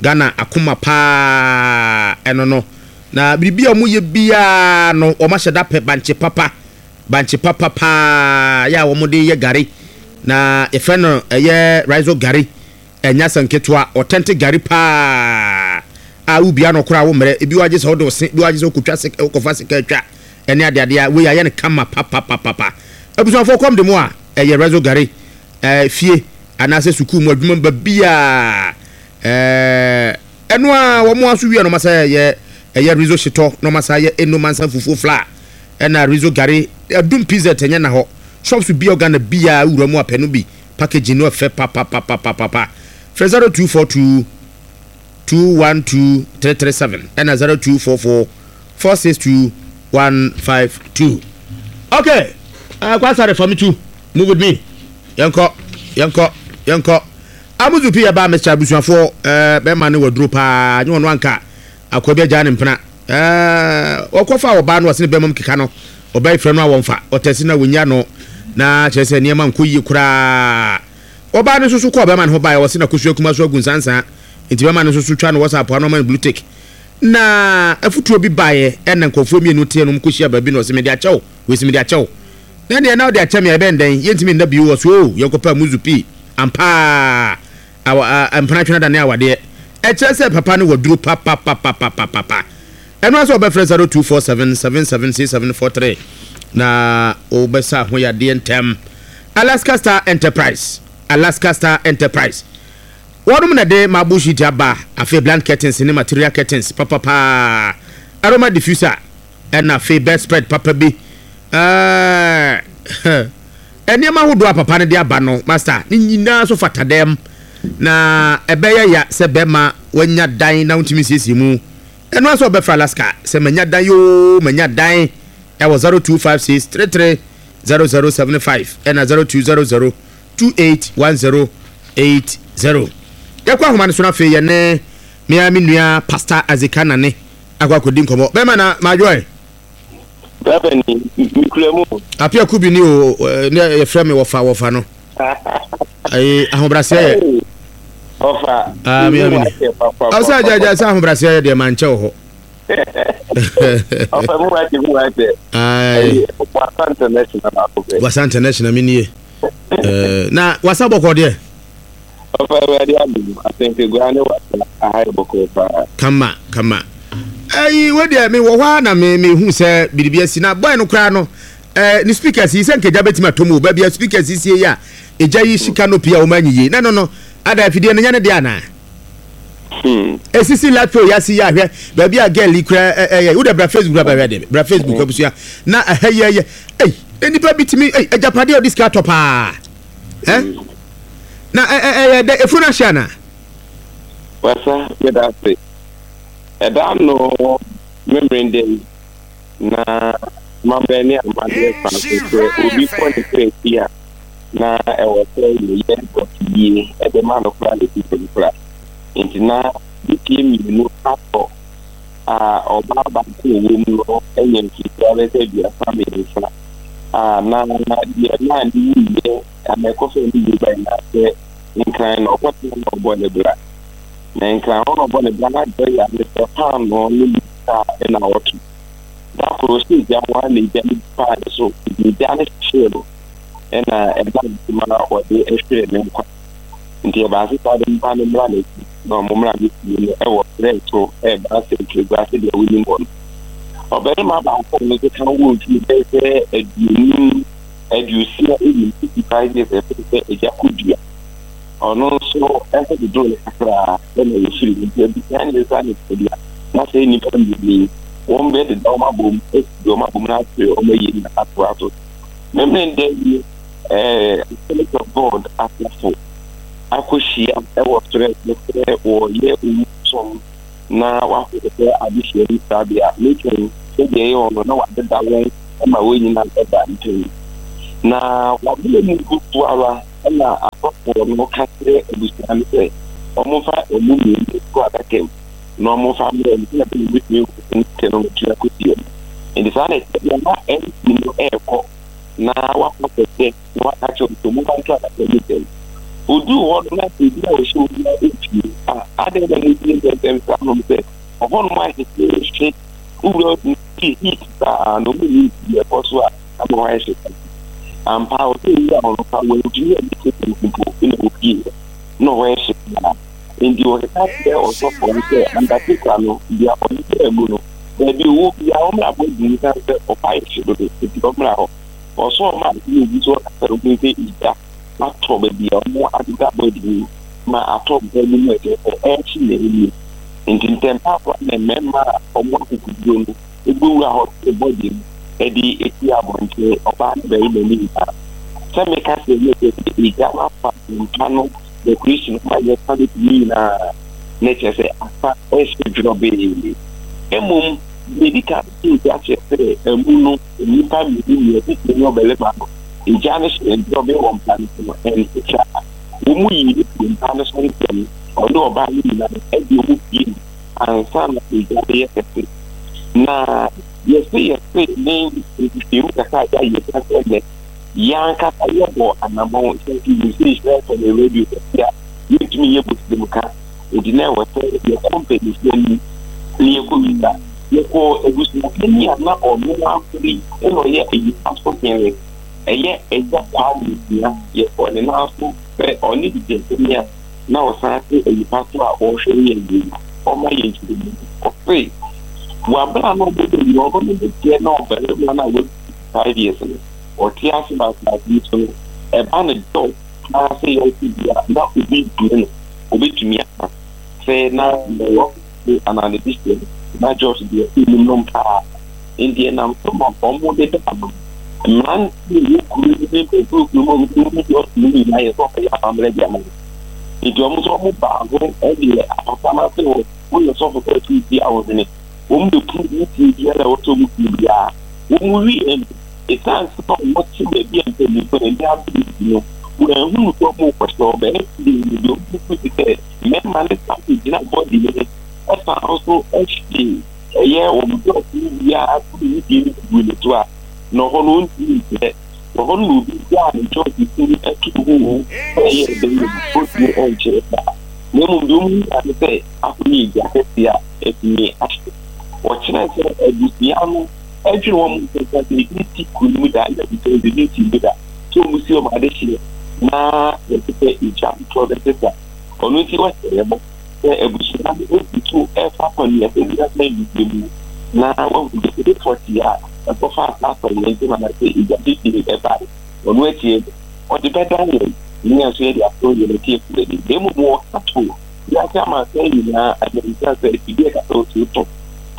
Ghana akoma paa ɛno no na biribi a wɔn yɛ biara no wɔn ahyɛ da pɛ bankye papa bankye papa paa yɛ a wɔn de yɛ gari na yɛfrɛ no ɛyɛ rizo gari. Ɛnyɛ asɛm ketewa, authentic gari paa a wobia no koraa wo mmerɛ, ebi wɔ agye sɛ wode wo se, ebi wɔ agye sɛ wokɔtwa sika, wokɔfa sika atwa ɛne adeade a, wei ayɛ no kama papapapapa. Abusuafoɔ kɔm de mo a, ɛyɛ Rezo Gari, ɛɛ fie anaasɛ sukuu mu adwuma mu baabiara, ɛɛ ɛno a wɔn aso wie a na wɔn asa yɛ ɛyɛ Rezo hyetɔ na wɔn asa yɛ Eno Mansa fufuo flour ɛna Rezo Gari, Adum PZ ɛnyɛ na hɔ, shops bi a Ghana biara wura mu apɛ no bi. Packaging no ɛfɛ papapapapapa. Frɛ 0242 212 337 ɛna 0244 462 152. Okay, uh, Kwasare fa me tu. Move with me. Yɛnkɔ, yɛnkɔ, yɛnkɔ. Amuzu pii ɛbaa Mr. Abusuafoɔ uh, bɛrima no waduro paa nyɛ ɔno anka akoa bi agyaa ne mpena uh, ɔkɔfa ɔbaa no ɔsene bɛrima mu keka no Ɔbaa yi frɛ no a wɔmfa, ɔtɛse no a wɔnnya no, na kyerɛ sɛ nneɛma nkɔ yie koraa. Ɔbaa no nso so kɔɔ bɛrima no ho baeɛ, ɔse n'akosua kuma so agu nsansaa, nti bɛrima no nso so twa no WhatsApp ano ama no blue tick. Na afutuo bi baeɛ ɛna nkurɔfoɔ mmienu teɛ no wɔkɔhyia baabi na ɔse mede akyɛ wo, wei se mede akyɛ wo. Na ɛneɛ na wode akyɛ me a ɛbɛn dɛn, yɛntumi nna bio, ɔse oo yɛnkɔpɛ amuzu pii, ampaa awa, a, mpena twene adane awadeɛ. Ɛkyerɛ sɛ papa no waduro papapapapapapa. Ɛno ara sɛ wobɛfrɛ 0247 776743 na wobɛsa ho yadeɛ ntɛm. Alaska Star Enterprise, Alaska Star Enterprise. Wɔnom na de marble sheet aba, afei bland curtains ne material curtains papapaa, aroma diffuser. Ɛna afei bedspread papa bi. Ɛɛ nneɛma ahodoɔ a papa no de aba no, master, ne nyinaa nso fata dɛm. Na ɛbɛyɛ ya sɛ bɛrima wanya dan na wontumi nsiesie mu. Ɛno ara sɛ ɔbɛfrɛ Alaska sɛ manya dan yoo, manya dan ɛwɔ 0256 33 0075 ɛna 0200 281080. Yɛkɔ ahoma no so no afei yɛne me ara me nua Pastor Azika Nane akɔ akɔdi nkɔmmɔ. Bɛrima na madwoɛ. Bɛrima ni, mekura mu. Apia Kubi ni o, ne yɛfrɛ me wɔfa wɔfa no. Ayi ahobrɛaseɛ yɛ. Ɔfa. Ah, me amini. Ɔsɛ agya agya sɛ ahobrɛaseɛ yɛ deɛ mankyɛ wɔ hɔ. Ɔfa mu wate mu wate. Ayi. Wasa international baako pɛ. Wasa international mi nie. Na wasa bɔkɔ deɛ. Ɔfa awurade adum asɛnkagua ne wasa aha yɛ bɔkɔ paa. Kama kama. Ayi wo deɛ me wɔ hɔ a na me me hu sɛ biribi asi na boy no koraa no. Eh, ne speakers yi sɛ nka egya bɛtumi atɔ mu o, baabi a speakers yi sie yi a egya yi hye canopy a wɔn anyi yie na no no ada afidie no nyɛ ne deɛ anaa? Hmm. Esisi light pole yasi yi ahwɛ baabi a girl yi kura ɛyɛ wo de bra Facebook bra bɛhwɛ de bra Facebook hmm. abusua na ɛhɛ yɛ yɛ ɛy nipa bi tumi ɛy agyapadeɛ a ɔde sika atɔ paa ɛ hmm. na ɛ ɛ ɛyɛ dɛ efunu ahyɛ anaa? Wasa meda ase ɛda no memerende yi. Na amammerɛ ne amanneɛ kwan so, sɛ obi kɔ ne kra akyi a, na ɛwɔ sɛ yɛyɛ dɔteyie de ma no koraa na ɛsi fam koraa. Enti na dɔteɛ mmienu atɔ a ɔbaa baako a ɔwɔ mu no anya mfirihyia bɛyɛ sɛ 33 a na deɛ na ne wuiɛ anaa ɛkɔfaa ne wuo bae na sɛ Nkran na ɔkɔtena na ɔbɔ ne bra. Na Nkran hɔ na ɔbɔ ne bra na deɛ ɔyɛ ara ne sɛ paanoo ne a nna ɔto. Da kor, ɔhyɛɛ gya ho ara na egya no bi faa no so, ntsi egya no hyehyee no na ɛnam do ma ɔdze hweer no nkwa. Ntsi ɛbaa sɛ saa de nyimpa no mbra n'ekyir na wɔmbra ne fie no wɔ serɛ so reba asɛnkyerɛgua sɛdeɛ wonim hɔ no. Ɔbarima baako a ɔno nso ka wɔ mfie bɛyɛ sɛ aduonum, 65, 65 years ɛfɛ sɛ agya kodua. Ɔno nso ho dodoo no kakra na wɔfirii mu. Nti abusua no nsa ne tadua na sɛ nnipa mmienu yi, wɔn bɛdeda wɔn abom, asisi wɔn abom na afei wɔn ayi na atoa so. Memeneda yi, eh, Assemblies of God asafo akɔhyia wɔ serɛ so sɛ wɔreyɛ owu som na wɔakɔhwehwɛ adesua yi trabea. Metwɛn sɛdeɛ ɛyɛ wɔn no na wɔadeda wɔn ma wɔn nyinaa da ntɛm. Na wɔabrɛ mu gu so ara Ɛnna asɔfoɔ no ka kyerɛɛ abusua no sɛ wɔmfa wɔn mmienu nto adaka mu na wɔmfa mmrɛ no sɛdeɛ ɛbɛyɛ wɔbɛtumi ahu sɛ no tua kɔsie no. Enti saa na ɛteɛ deɛ na MP no rekɔ na wakɔ akɔhwɛ na waka akyerɛ wɔn sɛ wɔmfa nto adaka mu ntɛm. Ɔduu hɔ no na baabi a ɔhyɛ obiara mpue. Ah, adɛn na mosie ntɛmntɛm saa nom sɛ ɔhɔnom ayɛ hyehyeehye, wowura hɔ tumi feel heat saa na wɔn nni deɛ ɛkɔ so a ama hɔ ayɛ hye saa. Ampa ara, ɔsɛ owura hɔ no koraa wantumi anni seconds mpo na opueeɛ. Na hɔ yɛ hye paa. Enti wɔkeka kyerɛɛ ɔsɔfoɔ no sɛ Undertaker no, deɛ ɔde baa mu no, baabi a ɔwɔ biara ɔmmra abɔdwene mu ɛsiane sɛ ɔhɔ ayɛ hye dodo nti ɔmmra hɔ. Ɔsɔɔ maa na obi nso ɔkasa no ɔhuu sɛ egya atɔ baabi a wɔadeda abɔdwene mu ma atɔ mpa no mu a ɛkyerɛ sɛ ɛrehye na ɛrewie. Enti ntɛmpa ara na mmarima a wɔwɔ akokoduro no Wobewura hɔ te bɔde mu de apue abɔnten, ɔbaa ne barima no nyinaa. Sɛ meka sɛ na ɛkyerɛ sɛ egya no afa mpa no decoration no ma yɛfa no tumi nyinaa, na ɛkyerɛ sɛ afa ɛhyɛ dworɔbee. Mmom, deɛ edi kan sɛ egya kyerɛ sɛ amu no nnipa mmienu nea titire ne ɔbarima no, egya no hyɛ dworɔbee wɔ mpa no so no, ɛnte saa. Wɔn mu yii no firii mpa no so ntɛm, ɔne ɔbaa no nyinaa de wɔn pue ansa na egya no yɛ kɛse. Na yɛse yɛse ne nhwehwɛmu kakra a yɛayɛ ka sɛ nnɛ yɛn ankasa yɛbɔ anammɔn sɛ nti nim sɛ nhyira FM yɛ radio kɛse a yɛntumi nyɛ bosirim ka nti na ɛwɔ sɛ yɛkɔ mpanimfoɔ anim na yɛkɔ bisa. Yɛkɔɔ abusuapanin a na ɔno ara na ɔyɛ ayipa so hene, ɛyɛ Agya Kwame Nsia, yɛkɔɔ ne nan so sɛ ɔne Digyɛnpanin a na ɔsan te nnipa so a ɔrehwɛ yɛn yi no, ɔma yɛn nkyerɛmu. Ɔse, wɔ abere a na ɔbɔ dam no, ɔno ne deɛ na ɔbarima no a wadi 65 years no, ɔte ase wɔ asase yi so no, ɛba no dɛw paa sɛ yɛnte bi a na obi ntumi no, obetumi aka sɛ na nea ɔte anaa ne de hyɛ no, na Josh deɛ nnim no paa. Enti ɛnam so ma wɔdeda no. Mmerante a ɛwɔ kuro yi ne mpanyinfoɔ wɔ kuro mu a wɔn mu dɔɔso no nyinaa yɛ sɛ wɔbɛyɛ amammerɛ de ama no. Enti wɔn nso wɔbaa ho de apata no ase hɔ, woyɛ sɔfo sɛ ɔte ti a wɔhene. Wɔn bɛpu ne tie biara a ɛwɔ sɛ wɔn pue biara. Wɔn wieɛ no, ɛsiane sɛ wɔte baabi a mpanyinfoɔ ani abere nti no, wɔanhunu sɛ wɔrekɔhyɛ hɔ. Bɛyɛ sɛ deɛ wɔn susu sɛ mmarima no san kɔgyina bɔdi no ho san nso hwee ɛyɛ wɔn dɔɔso no biara to ne die no gu ne so a, na ɔhɔ no ɔntumi nkyerɛ. Wɔ hɔ no na obi gyaa ne dɔɔso sini to ho o, sɛ ɛyɛ ɛdɛn o, ɔntumi nkyerɛ saa. Na mmom deɛ wɔn nya ne sɛ akɔyɛ egya kɛseɛ a atumi ahye. Wɔkyerɛ sɛ abusua no adwene wɔn ho sɛ sɛ ebi nsi kuro no mu da, ɛna abusua no ebi nsi mu da, sɛ wɔn si wɔn adehyeɛ na yɛte sɛ egya ntorɔ bɛsesa. Ɔno nti wɔhyɛ yɛn bɔ sɛ abusua no gu so refa akɔneaba bi aba anigye mu na wɔahu dekode pɔtee a ɛkɔfaa saa atoyerɛnkyɛm anaasɛ egya titiriw bae. Ɔno akyi no, ɔde bɛdan yɛn na yɛn nso yɛde ato yɛn atiefo anim. Na mmom wɔka to wiase amansan nyinaa anim sɛ sɛ afidie a ɛkasa osu tɔ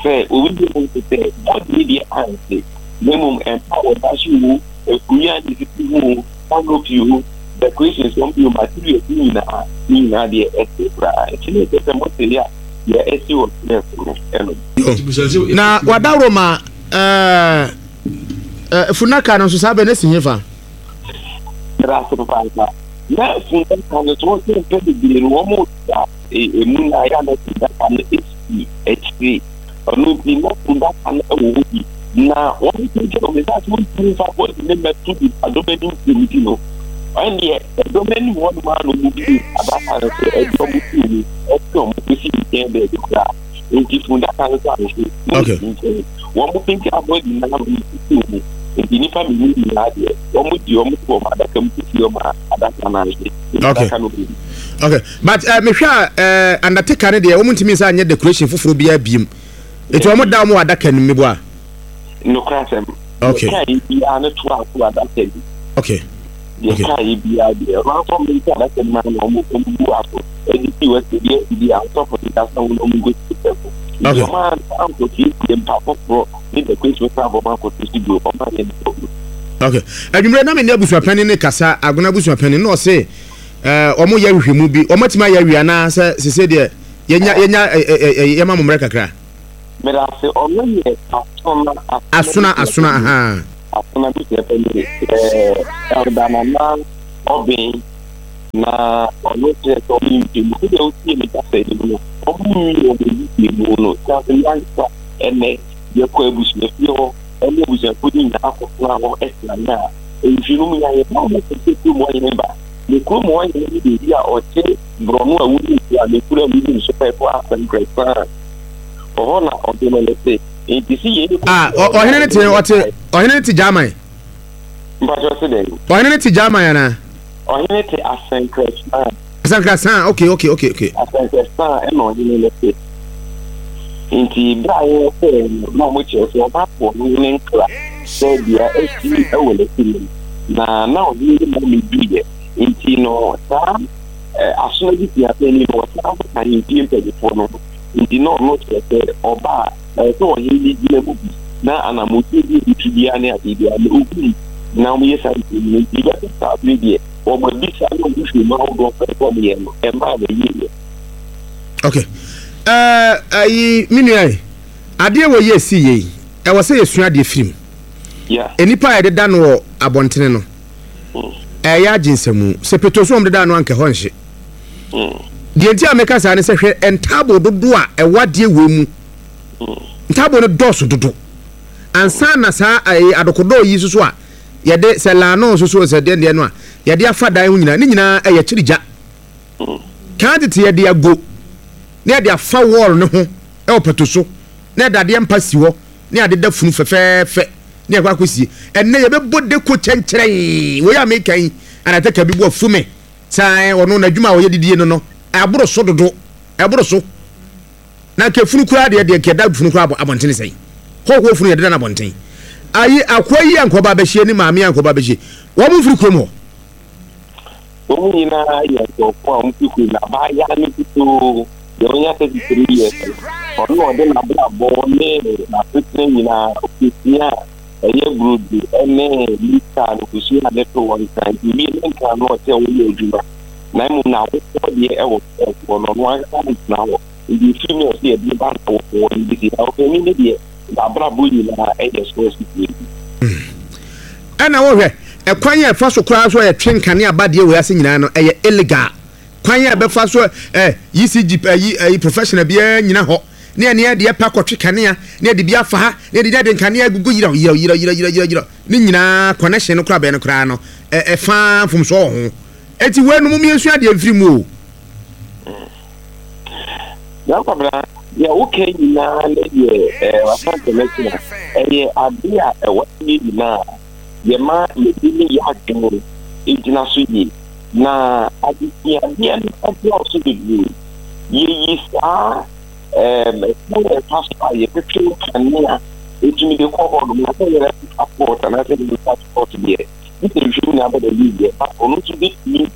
sɛ obi bi mu nso sɛ bɔdeɛ deɛ anse na mmom mpa a wɔda so o, akonnwa a esisi ho o, canopy o, decorations wɔn de o, materials ne nyinaa, ne nyinaa deɛ ɛte koraa. Nti na ɛkyɛ sɛ mote yɛ a deɛ ɛsi wɔ stress no ɛno. Na wadaworo ma ɛɛ funaka no nso saa bɛ ne si hefa. Ɛda ase papaapa. Na fundaka no so wɔsɛ mpɛ bebree no wɔn da emu na ayɛ na fundaka no esi akyire. Ɔno nti na fundaka no wɔ hɔ bi. Na wɔn nkyɛn wɔn nsa so ntumi nfa bɔdi ne mmɛto bi adɔm anim firi ti no. Ɛndeɛ ɛdɔm anim hɔ nom a na wɔn bi adaka no so ɛde wɔn ti mu ɛte wɔn kɔsi nkyɛn baabi koraa. Nti fundaka no so anhwe na Okay. esi nkyɛn. Wɔn pagya bɔdi na wɔn sisi mu. Nti nnipa mmienu nyinaa deɛ wɔn di wɔn to wɔn adaka mu sisi wɔn a adaka no anhwe. Nti Okay. adaka no bɛbi. Okay, but mehwɛ a Undertaker no deɛ wɔn ntumi nsa nyɛ decoration foforɔ biara biem. Eti wɔn da wɔn wɔ adaka no mu meboa. Nokorɛ asɛm. Okay. Deɛ kaa yɛ biara no to ato adaka bi. Okay. Deɛ Okay. kaa yɛ biara deɛ ɔno nso ɔmo nti adaka no ma na ɔmo ɔmo bu aso ɛde si wɔ sɛ deɛ ɛdi a ɔsɔfo de kasa ho na ɔmo nkɔ si sɛfo. Nti Okay. ɔmo ankɔ siesie mpa foforɔ ne decoration foforɔ a ɔmo akɔ so si bio ɔmo anyɛ ne sɛ Okay. Adwumire na me ne abusuapanin ne kasa agona abusuapanin na ɔse ɛɛ wɔn yɛ nhwehwɛmu bi wɔn atumi ayɛ awie anaa sɛ sese deɛ yɛnya yɛnya ɛ ɛ ɛ yɛma mo mmerɛ kakra. Medase ɔno yɛ asona asona asona ahaa. Asona busua panyin ɛɛ Elder Nana Ɔben na ɔno kyerɛ sɛ ɔmo nhwehwɛmu sɛdeɛ wotie me kasa yi mu no ɔmo nwie wɔn nhwehwɛmu no kyerɛ sɛ yɛankasa ɛnɛ yɛkɔ abusuafie hɔ ɛne abusuafoɔ no nyinaa kɔtena hɔ ɛsrane a nhwehwɛmu mu yɛayɛ na ɔmo sɛ kurom hɔ hene ba ne kurom hɔ hene ne baabi a ɔte borɔno a wonim so a ne kuro a wonim so pɛɛpɔ asɛnkrɛsan ɔhɔ na ɔde no ne te nti si yɛ Ah, ɔhene ne te ɔte ɔhene ne te German. Mpatsɔ se dɛn? Ɔhene ne te German anaa? Ɔhene te asɛnkrɛsan. Asɛnkrɛsan, okay, okay, okay, okay. Asɛnkrɛsan ɛna ɔhene ne te. Nti bere a yɛkɔɛ no na ɔmo kyerɛ sɛ ɔba po ɔhene ne nkra sɛ deɛ asi wɔ n'akyi no na na ɔhene ne ma meduiɛ nti no saa asono bi tia panyin no wɔsan nso ka ahemfie mpanyinfoɔ no ho nti na ɔno kyerɛ sɛ ɔba a ɛsɛ sɛ ɔhene no gyina mu bi na anammɔntuo bi a ɔtu biara ne adeɛ biara na ɔhunu na wɔyɛ saa nhwehwɛmu no nti bɛsɛ saa bere deɛ wɔn abisa ne wɔn nhwehwɛmu ahodoɔ pɛ sɛ wɔyɛ no ɛmaa na ɛyɛ Okay. Ayi me nua yi adeɛ wɔ yɛ si yɛ yi ɛwɔ sɛ yɛsua adeɛ firi mu. Nnipa a yɛdeda no wɔ abɔntene no ɛyɛ agye nsamu sɛ petro so wɔn deda no anka ɛhɔ nhye. Deɛ nti a meka saa ne sɛ hwɛ ntaaboo dodo a ɛwɔ adeɛ wei mu. Ntaaboo no dɔɔso dodo. Ansa na saa ɛyɛ adokodɔɔ yi soso a yɛde sɛ laano soso sɛ deɛ deɛ no a yɛde afa dan ho nyinaa ne nyinaa ɛyɛ kyiri gya. Kan tete yɛde ago na yɛde afa wɔɔl no ho ɛwɔ pato so na yɛde adeɛ mpa si hɔ ne ade da funu fɛfɛɛfɛ ne yɛkɔ akɔsie. Ɛnnɛ yɛbɛbɔ deko kyɛnkyerɛn. Wei a meka yi, anatɛka bi bo afu me sɛ ɔno n'adwuma a ɔyɛ didie no no, ɛboro so dodo, ɛboro so. Na nka funu koraa deɛ deɛ nka ɛda funu koraa abɔntene sɛn. Hɔhoɔ funu yɛde da no abɔnten. Ayi akoa yi a nka ɔba abɛhyie ne maame a nka ɔba abɛhyie, wɔn mfiri kurom hɔ. Wɔn nyinaa yɛ nkurɔfoɔ a wɔfiri kurom na abaayewa no nkutoo. Deɛ ɔnya 33 years no, ɔno na ɔde n'abrabɔ ne n'asetena nyinaa ɔkɔsua a ɛyɛ burodo ne mita no kɔsua ade to wɔ Nkran. Nti owie ne Nkran no ɔte a ɔyɛ adwuma. Na mmom n'awofoɔ deɛ ɛwɔ hɔ no, ɔno ankasa ntena hɔ. Nti ɛfiri mu a ɔsɛ yɛde ba n'awofoɔ hɔ no bɛsi. Na ɔpanin no deɛ n'abrabɔ nyinaa ɛyɛ so asutire. Ɛna wohwɛ ɛkwan a ɛfa so koraa so a yɛtwe nkanea ba deɛ wei ase nyinaa no ɛyɛ illegal. Kwan a ɛbɛfa so ɛ ECG ɛyi ɛyi professional biara nyina hɔ ne ɛne ɛde ɛpɛ akɔtwe kanea ne ɛde bi afa ha ne ɛde ɛde nkanea agugu yerɛw yerɛw yerɛw yerɛw yerɛw yerɛw yerɛw ne nyinaa connection no koraa bɛn no koraa no ɛ ɛfa mfomsoɔ wɔ ho. Eti wei no mo mmiɛnsua adeɛ mfiri mu o. Na Kwabena, deɛ woka nyinaa ne deɛ eh, w'asante no kyerɛ. Ɛyɛ ade a ɛwɔ sɛ yɛn nyinaa yɛma yɛde ne yɛ adwene gyina so yie. Na adesuadeɛ no dɔɔso bebree. Yɛyi saa ɛm, ɛkwan a ɛfa so a yɛtwetwe nkanea ɛtumi de kɔ hɔ nom, na sɛ yɛrɛ passport anaasɛ yɛrɛ passport deɛ, ne sɛ nhwɛ nyinaa bɛda yie but ɔno nso bɛtumi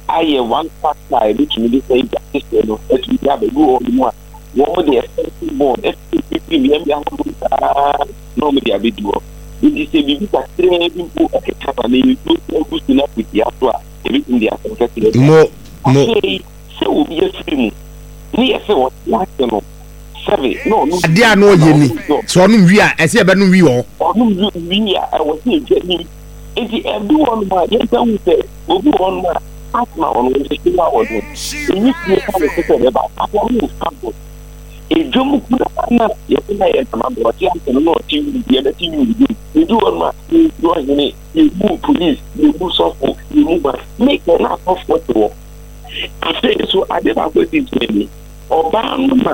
ayɛ one factor a ebetumi de saa egya kɛseɛ no atumi de aba. Ebi wɔ hɔ nom a, wɔn de extension board afifiri mmeammea ahodoɔ saa na wɔn de abɛdu hɔ. Nti sɛ biribi kakraa bi mpo ɛkeka ma na nsuo sɛ agu so na akotia so a, ebetumi de asɛm kɛseɛ aba. Mo, mo. Afei sɛ obi afiri mu ne yɛ sɛ ɔte ase no, sɛbe na ɔno Adeɛ a na ɔyɛ ni, sɛ ɔnom wie a, ɛsɛ yɛbɛnom wie wɔ hɔ. Ɔnom wie a, ɛwɔ sɛ yɛgya nim. Nti ɛdu hɔ nom a, yɛnsa hu sɛ Obi wɔ hɔnom a, asthma wɔ no, nhyehye a wɔ no, nwusie ka ne so sɛ ɛbɛba, but ɔno mfa ho. Edwom koraa na yɛse na yɛ ntama bɔ, ɔte ase no na ɔte wii, yɛbɛte wii dwom. Edu hɔnom a, yɛnsu ɔhene, yɛmmu police, yɛmmu sɔfo, yɛmmu hwan. Me kɛ na asɔfoɔ te hɔ. Afei nso, ade baako a ɛsi nkyɛn ni, ɔbaa no ma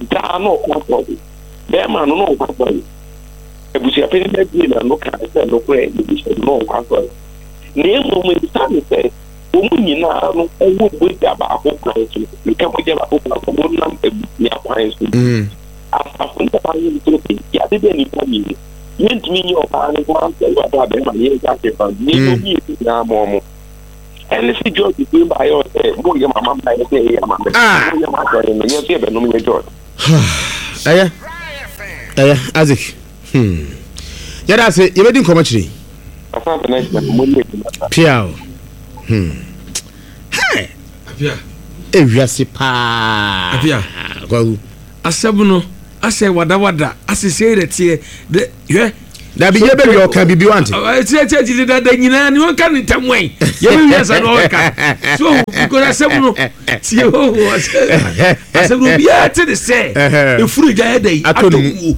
daa na ɔkɔ asɔre, bɛrima no na ɔnkɔ asɔre. Abusuapanin no abue n'ano kaa sɛ nokorɛ, yɛbisa no na ɔnkɔ asɔre. Na mmom esiane sɛ wɔn nyinaa no wɔ mogya baako kwan so, meka mogya baako kwan so, wɔnam abusua kwan so nti, asafo no bɛba yɛn nso sɛ yɛade dɛ nnipa mmienu. Yɛntumi nyɛ ɔbaa no nko ara nsɛ wɔ abere a bɛrima no yɛnka ahwɛ fa nti yɛnyɛ obi yɛsi nyinaa ma ɔmo. Ɛne sɛ George firi baayɛ ɔsɛ moyɛ mama mma yɛ sɛ ɛyɛ ama mɛ. Moyɛ ma asɔre no yɛn nso yɛbɛnom yɛ George. Ɛyɛ ɛyɛ Isaac. Hmm. Yɛda ase yɛbɛdi nkɔmmɔ kyerɛ yi. Piaw. Hmm. Hey. Apia. Ewiase paa. Apia. Kwaku. Asɛm no asɛ wadawada asɛ sei na teɛ de hwɛ. Dabi yɛ bɛ wi ɔka bibi wante. Ɛkyerɛ kyerɛ kyerɛ dada nyinaa ni wɔn ka ne ntam wɛn yɛ bɛ wi asa na ɔka so because asɛm no tie o asɛm no obiara te ne sɛ efuru gya yɛ dɛ yi atɔ mu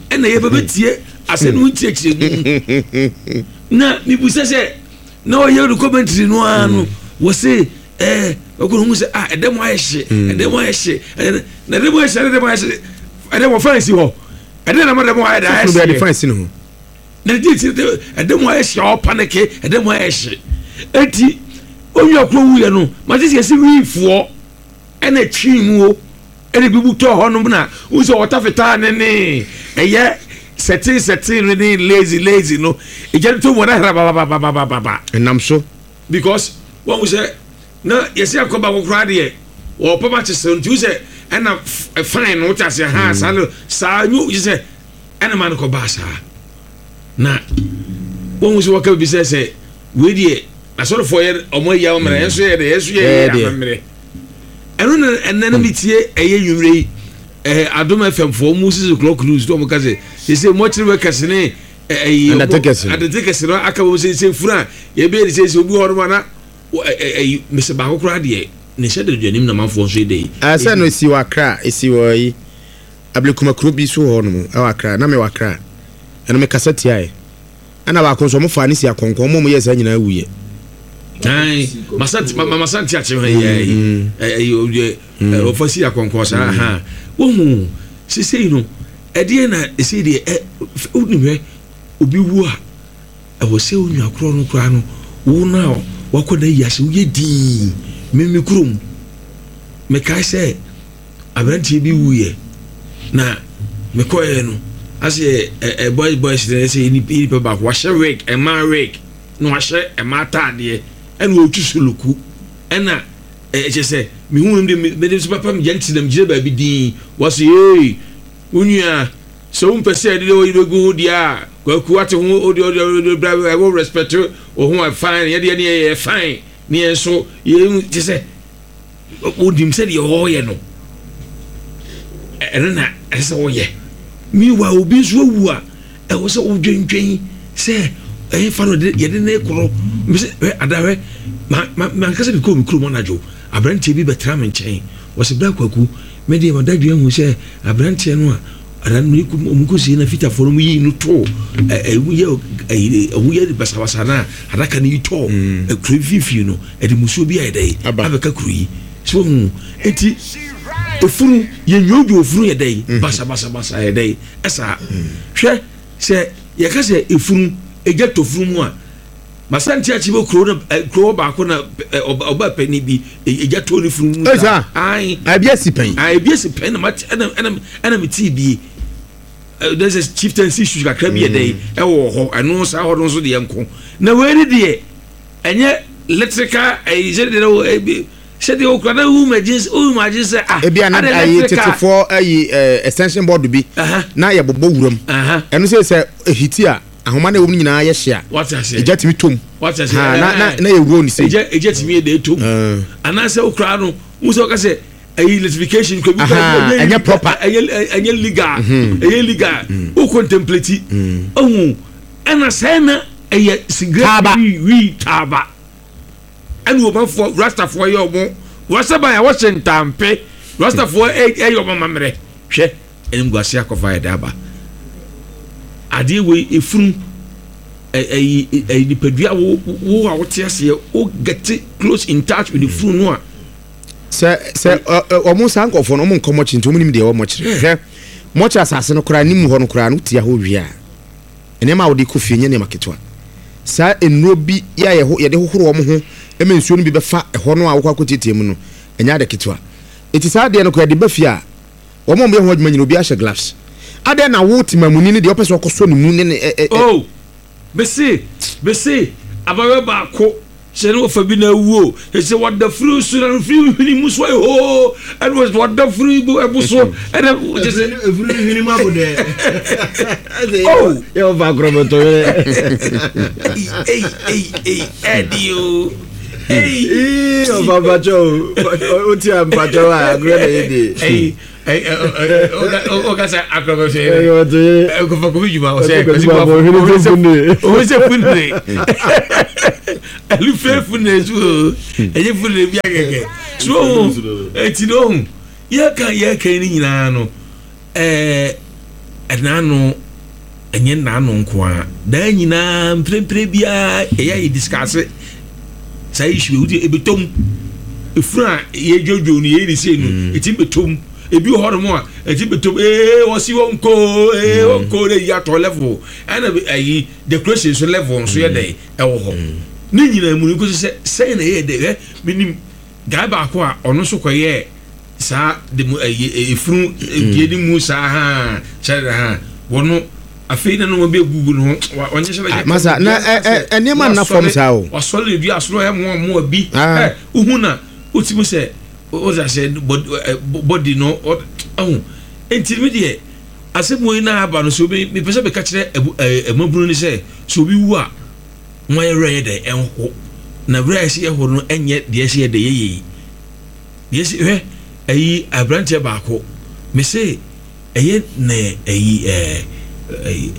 ɛna yɛ bɛ bɛ tie. Asɛm no nkyerɛkyerɛmu na mebisa sɛ na ɔyɛ no commentary no ara no wɔ se ɛɛ ɔkɔ no hu sɛ ah ɛdɛm ayɛ hye ɛdɛm ayɛ hye na ɛdɛm ayɛ hye ɛdɛm ayɛ hye ɛdɛm wɔ fan si hɔ ɛdɛm na ɛdɛm ayɛ hye fan si no ho na ɛdi ti ɛdɛm ayɛ hye ɔpaneke ɛdɛm ayɛ hye eti onua kuro wuyɛ no ma te sɛ yɛsi wiifoɔ ɛna twi mu o. Ɛna ebi mu tɔɔ hɔnom na wohu sɛ ɔta fitaa ne ne ɛyɛ sɛten sɛten no ne lazy lazy no egya no tɔ mu na hra babababababa. Ɛnam so. Because wɔn sɛ na yɛsɛ akɔ baako koraa deɛ wɔpam akyesere nti wo sɛ ɛna fine no wote aseɛ ha saa no saa nyo sɛ ɛna ma no kɔ baa saa na wɔn sɛ wɔka bi sɛ sɛ wei deɛ asɔrefoɔ yɛ ɔmo ayi amammerɛ yɛn nso yɛ deɛ yɛn nso yɛ yɛ amammerɛ. Ɛno na ɛnɛ no metie ɛyɛ nwummerɛ yi ɛɛ Adom FM foɔ ɔmo sisi clock news na ɔmo ka sɛ sese mɔkyere workers ne ɛyi Undertakers no. undertakers no aka wɔn sɛ sɛ funu a yɛbɛyɛ ne sɛ sɛ obi wɔ hɔ nom ana ɛyi mesɛ baako koraa deɛ ne nhyɛ da anim na manfoɔ nso yɛ dɛ yi. Ɛsɛ no esi wɔ Accra esi wɔ yi Ablekuma kuro bi so hɔ nom ɛwɔ Accra na mewɔ Accra ɛno mekasa tiaɛ. Ɛna baako nso ɔmo faa ne si akɔnkɔn ɔmo a ɔmo yɛɛ saa nyinaa wuiɛ. Ayi masante ma masante akye hɔ yɛ ayi ɛyi ɔyɛ ɔfa si akɔnkɔn saa ha wohu sisei no ɛdeɛ na ɛsei deɛ ɛ wonim hɛ obi wu a ɛwɔ sɛ onua korɔ no koraa no wo no a wakɔ na yi ase woyɛ dii mimi kurom mekae sɛ Aberanteɛ bi wuiɛ na mekɔeɛ no asɛ ɛ boys boys na ɛsɛ nipa baako wahyɛ wig ɛmaa wig na wahyɛ ɛmaa ataadeɛ ɛna ɔretwi soloku ɛna Ɛkyɛ sɛ mehu no de mede nso papa megya nti na megyina baabi din wɔse ee wo nua sɛ wompɛ sɛ ɛde ɔyi bɛgu ho deɛ a kwaku ate ho ɔde ɔde ɔde bra ɛwɔ respect wo ho a fine yɛdeɛ ne yɛyɛ fine ne yɛn nso yɛn kyɛ sɛ wonim sɛ deɛ ɔreyɛ no ɛno na ɛsɛ sɛ wɔyɛ meanwhile obi nso awu a ɛwɔ sɛ wodwendwen sɛ ɛyɛ fa no yɛde ne korɔ mesɛ hwɛ adahwɛ mankasa mekɔɔ me kurom anadwo aberanteɛ bi bɛtena me nkyɛn wɔsɛ bra kwaku me deɛ madadwen ahu sɛ aberanteɛ no a ada no ɔmu kɔsie na fitafoɔ no mu yii no too ɛmu yɛ ɛho yɛ basabasa no a adaka no yi tɔɔ mm. kuro mfimfini no ɛde musuo bi ayɛ dɛ abɛka kuro yi so hu eti efunu yɛ nyoodwo efunu yɛ dɛ mm. basabasabasa yɛ dɛ ɛsaa mm. hwɛ sɛ yɛka sɛ efunu egya tɔ funu mu a Masante akyi bɛ kuro na kuro hɔ baako na ɔba panyin bi egya tɔ ne funu mu saa. Ayi. Ebi esi pɛn. Ayi ebi esi pɛn na ma ɛna ɛna ɛna mi tii bie. There's a chieftaincy issues kakra bi yɛ dɛ mm. ɛwɔ hɔ ɛno saa hɔ no nso deɛ nko na wei ne deɛ ɛnyɛ electrical ɛyi sɛ deɛ ɛwɔ ɛbi sɛ deɛ okura na ehu ma gye ehu ma gye sɛ ah. Ebi a na ayi tetefoɔ ayi extension board bi na yɛ bobɔ wuram ɛno sɛ sɛ ehiti a. Ahoma no a ɛwɔ mu no nyinaa yɛ hye a, egya tumi tɔ mu. Ha, na, na, na yɛ wuro ne sei. Egya, egya tumi yɛ dɛ tɔ mu. Anaasɛ wokura no, wo sɛ wɔka sɛ ɛyi electrification kɔ bi ɛnyɛ ɛnyɛ proper, ɛnyɛ ɛnyɛ legal, mhm. ɛnyɛ legal. Mm. Wo contemplate, mm. ɔhu ɛna sɛn na ɛyɛ cigarette wii wii taaba. Ɛna ɔmafoɔ rastafoɔ yɛ ɔmo rastaban a wɔhyɛ ntampe rastafoɔ ɛyɛ ɔmo amammerɛ hwɛ. Animguase akɔfa ayɛ dɛ aba. Adeɛ wei efunu ɛyi ɛyi nipadua wo wo a wote aseɛ wo get close in touch with the funu no a. Sɛ sɛ ɔmo saa nkorɔfoɔ no ɔmo nkɔ mɔkyere nti ɔmo nim deɛ ɛwɔ mɔkyere. Hwɛ mɔkyere asase no koraa ne mu hɔ no koraa no wotia hɔ wie a nneɛma a wode kɔ fie nyɛ nneɛma ketewa. Saa nnuro bi yɛ a yɛde hohoro wɔn ho ma nsuo no bi bɛfa ɛhɔ no a wokɔ akɔtiatia mu no ɛnyɛ ade ketewa. Eti saa adeɛ no koraa yɛde ba fie a Wɔn a wɔyɛ ho adwuma nyinaa, obiara hyɛ gloves. Adɛn na wo temamuni no deɛ wopɛ sɛ ɔkɔsɔ ne mu ne ne ɛ ɛ ɛ. Oh, mese, mese, abayewa baako, sɛ ne wɔfa bi na awu o, sɛ wɔda firi so na firi hwene mu so ayɛ hoo, ɛna wɔda firi ɛbo so, ɛna kyɛ sɛ. Efiri hwene mu abo dɛ. Oh, yɛ wɔfa akorɔbɔtɔ yɛ. Ei, ei, ei, ɛdi o. Ei. Ɔfa mpakyɛ o, o ti a mpakyɛ o a agorɔ na yɛ di. Ei, o ka sɛ akorɔbɔtɔ yɛ. Kɔfɔ kofi juma ɔsɛ kwasi bɔ afɔ ohun sɛ funire ɛlu fɛ funire so o ɛyɛ funire bi akɛkɛ so ohun eti na ohun yɛ kan yɛ kan ni nyinaa no. Ɛɛ, ɛnaano, ɛnyɛ nnaano nko ara, daa nyinaa mprempren biara ɛyɛ a yɛ discuss saa issue yi, wodi ebetɔ mu. Efunu a yɛdwodwo no yɛyi ne sei no, mm. ɛtumi bɛtɔ mu. Ebi wɔ hɔnom a ɛtumi bɛtɔ mu, ee wɔsi wɔn ko, ee mm. wɔn ko na eyi atɔ level, ɛna ɛyi decoration nso level nso yɛ dɛ ɛwɔ hɔ. Mm. Ne nyinaa mu no nkosi sɛ sɛn na ɛyɛ dɛ, ɛ menim guy baako a ɔno nso kɔyɛɛ saa de mu ɛyɛ efunu die ne mu saa haa kyerɛ ha wɔn afei na nneɛma bi egugu ne ho wɔnyɛ sɛ ah, masa na ɛ ɛ nneɛma nna fam saa o wasɔre ne dua soro ɛmoa mmoa bi ah. ɛ wohu na wotumi sɛ wɔde ahyɛ bɔdi no ɔho nti mi deɛ asɛm wei na aba no so obi mepɛ sɛ meka kyerɛ ɛbu ɛ ɛmabunu ne sɛ sɛ obi wu a wɔn ayɛ werɛ yɛ dɛ ɛnho na werɛ a ɛsɛ yɛ ho no ɛnyɛ deɛ ɛsɛ yɛ dɛ yɛyɛ yi. Yɛsi hwɛ ɛyi abranteɛ baako mese ɛyɛ ne ɛyi ɛɛ ɛyi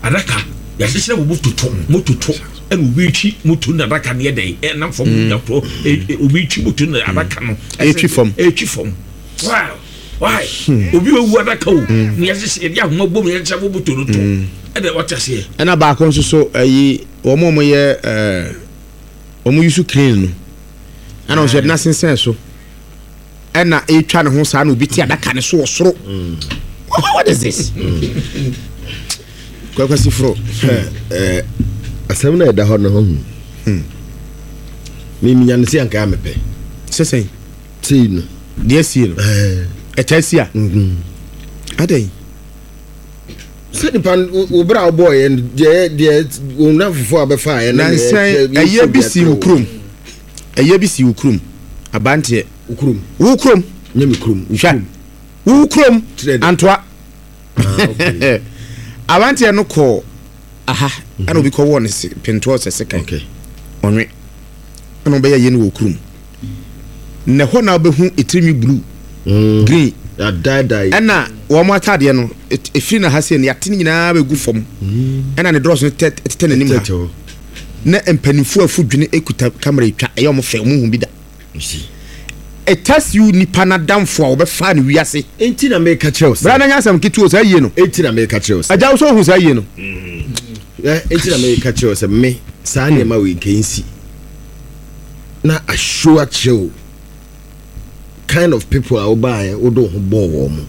adaka yɛahyehyɛ wɔ moto to moto to ɛna obi twi moto na adaka no yɛ dɛ ɛnam fam mm. yakorɔ obi twi moto na adaka no ɛtwi fam ɛtwi fam wow why hmm. obi owu adaka o hmm. na yɛhyehyɛ yɛde ahoma bom yɛhyehyɛ wɔ moto no to hmm. ɛna wɔte aseɛ. Ɛna baako nso so ɛyi wɔn a wɔyɛ ɛɛ wɔn yusu crane no. ɛna ɔsɛ ɛde n'asensɛn so ɛna ɛretwa ne ho saa na obi te adaka ne so wɔ soro mm. what is this mm. kwakwasi foro asɛm na ɛda hɔ no ho hmm. meminya no sɛ anka mepɛ sɛ sɛn sei no deɛ sie no ɛkyɛ si a mm-hmm. adɛn sɛ nipa wo bere a wobɔɔ yɛ no deɛ deɛ wo nnamfofoɔ a bɛfa yɛ no nansɛn ɛyɛ bi si wo kurom ɛyɛ bi si wo kurom. Abanteɛ. Wo kurom. Wo kurom. Nyɛ me kurom. Wo Hwɛ. kurom. Wo kurom. Kyerɛ dɛ. Antoa. Ah, okay. Abanteɛ no kɔɔ aha ɛna obi kɔwɔɔ ne se pentoɔ sɛ sekan. Okay. Ɔnwe. Ɛna ɔbɛyɛ yɛ no wɔ kurom. Na ɛhɔ na wobɛhu etirinwi blue, green. Yɛadaadae. Ɛna wɔn ataadeɛ no ɛfiri na ha sei no yɛate ne nyinaa bɛgu fam. Ɛna ne drɔs no tɛ tetɛ n'anim ha. Tɛtɛ hɔ. Na mpanimfoɔ afu dwene kuta kamera etwa ɛyɛ wɔn fɛ wɔn hu bi da. You see. It tells you nipa n'adamfo a wɔbɛfa no wiase. Enti na meka kyerɛ wo sɛ. Bra na nyɛ asɛm ketewa o saa yie no. Enti na meka kyerɛ wo sɛ. Agya wo sɛ ohu saa yie no. Ɛ enti na meka kyerɛ wo sɛ me saa nneɛma wei nka nsi na ahyow akyerɛ wo kind of people a wobaeɛ wode wo ho bɔɔ wɔn mo.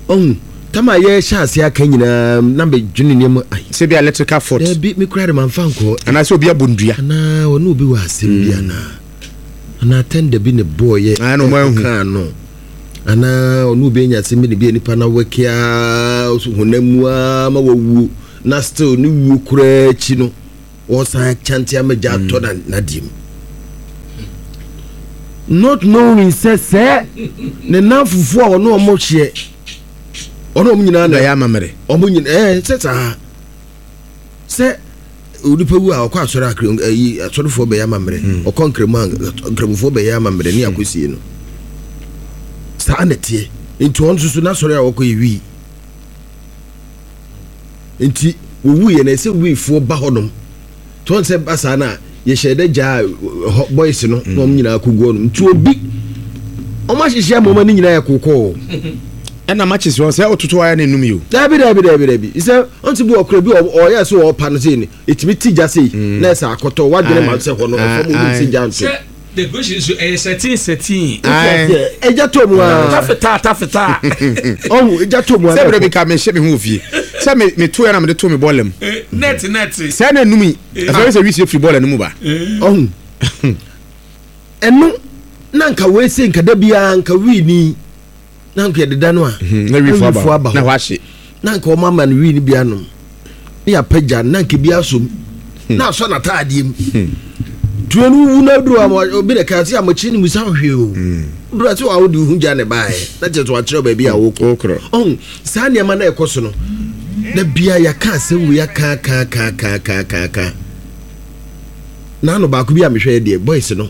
Ɔhu tam a yɛhyɛ ase aka nyinaa na medwene nneɛma ai. Sɛ bi electrical fault. Dabi me koraa de mamfa nkɔ. Anaasɛ obi abɔ ndua. Anaa ɔne obi wɔ asɛm bi anaa. Anaa tɛnda bi ne bɔɔyɛ Ah, na ɔmo ahu. ɛkɔkaa no. Anaa ɔne obi anya asɛm bi ne bi a nipa no awɛke aa honam mu aa ma wawuo na still ne wuo koraa akyi no wɔsan akyante ama gya atɔ na n'adeɛ mu. Not knowing sɛ sɛ ne nnamfofoɔ a ɔne ɔmo hyeɛ ɔne ɔmo nyinaa na Bɛyɛ amammerɛ. ɔmo nyinaa ɛɛ sɛ saa sɛ onipa wu a ɔkɔ asɔre akre ayi asɔrefoɔ bɛyɛ amammerɛ hmm. ɔkɔ nkramu a nkramofoɔ bɛyɛ amammerɛ ne akɔsie no saa na ɛteɛ nti ɔno nso so n'asɔre a ɔkɔ yɛ wii nti wɔwu yɛ na ɛsɛ wiifoɔ ba hɔnom Tí wɔn sɛ ba saa na yɛhyɛ dɛ gyaa hɔ boys no na wɔn nyinaa kɔ gu hɔ nom nti obi wɔn ahyehyɛ ama wɔn ani nyinaa yɛ kokɔɔ. Ɛna matches wɔn sɛ ɔtoto ayɛ na enum yi o. Dabi dabi dabi dabi sɛ ɔn ti bi wɔ kura bi ɔyɛ sɛ ɔpa no sei no etumi ti gya sei na ɛsɛ akɔtɔ wadwene ma sɛ hɔ no ɛfam onim sɛ gya nto. Decoration nso ɛyɛ sɛtin sɛtin. Ɛgya tɔ mu aa. Tafetaa tafetaa. Ɔhu ɛgya tɔ mu aa. Sɛ bere bi ka me hyɛ me ho wɔ fie. Sɛ me me to yɛ na me de to me bɔɔla mu. Nɛɛte nɛɛte. Sɛ na enum yi. Ɛfɛ sɛ wisie firi bɔɔla no mu ba. Ɔhu. Ɛno na nka wei se nka da biara nka wii ni. Na nka yɛdeda no a. Mhm, na wiifo aba hɔ. Na hɔ ahye. Na nka wɔn ama no wii no bi anom. Ne yɛapagya no na nka bi asom. Hmm. Na asɔ n'ataadeɛ mu. Hmm. Tuo no wu na duro ama obi na kaa sɛ amakyi no musa hwee o. Hmm. Duro ase wa wode ho gya ne baeɛ. Na kyerɛ sɛ wakyerɛ baabi a wokɔ. Ɔhu saa nneɛma na ɛkɔ so no. Na bia yɛaka asɛm wei aka aka aka aka aka aka aka. N'ano baako bi a mehwɛ deɛ boys no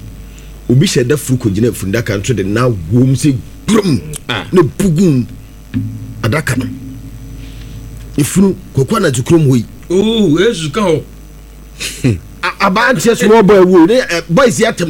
obi hyɛ da furu kɔgyina fundaka nso de na wom sɛ gurum na bugum adaka no efunu kɔkɔ anadwo kurom hɔ yi. Oo esu ka hɔ. Abanteɛ small boy wo ne boys yi atam.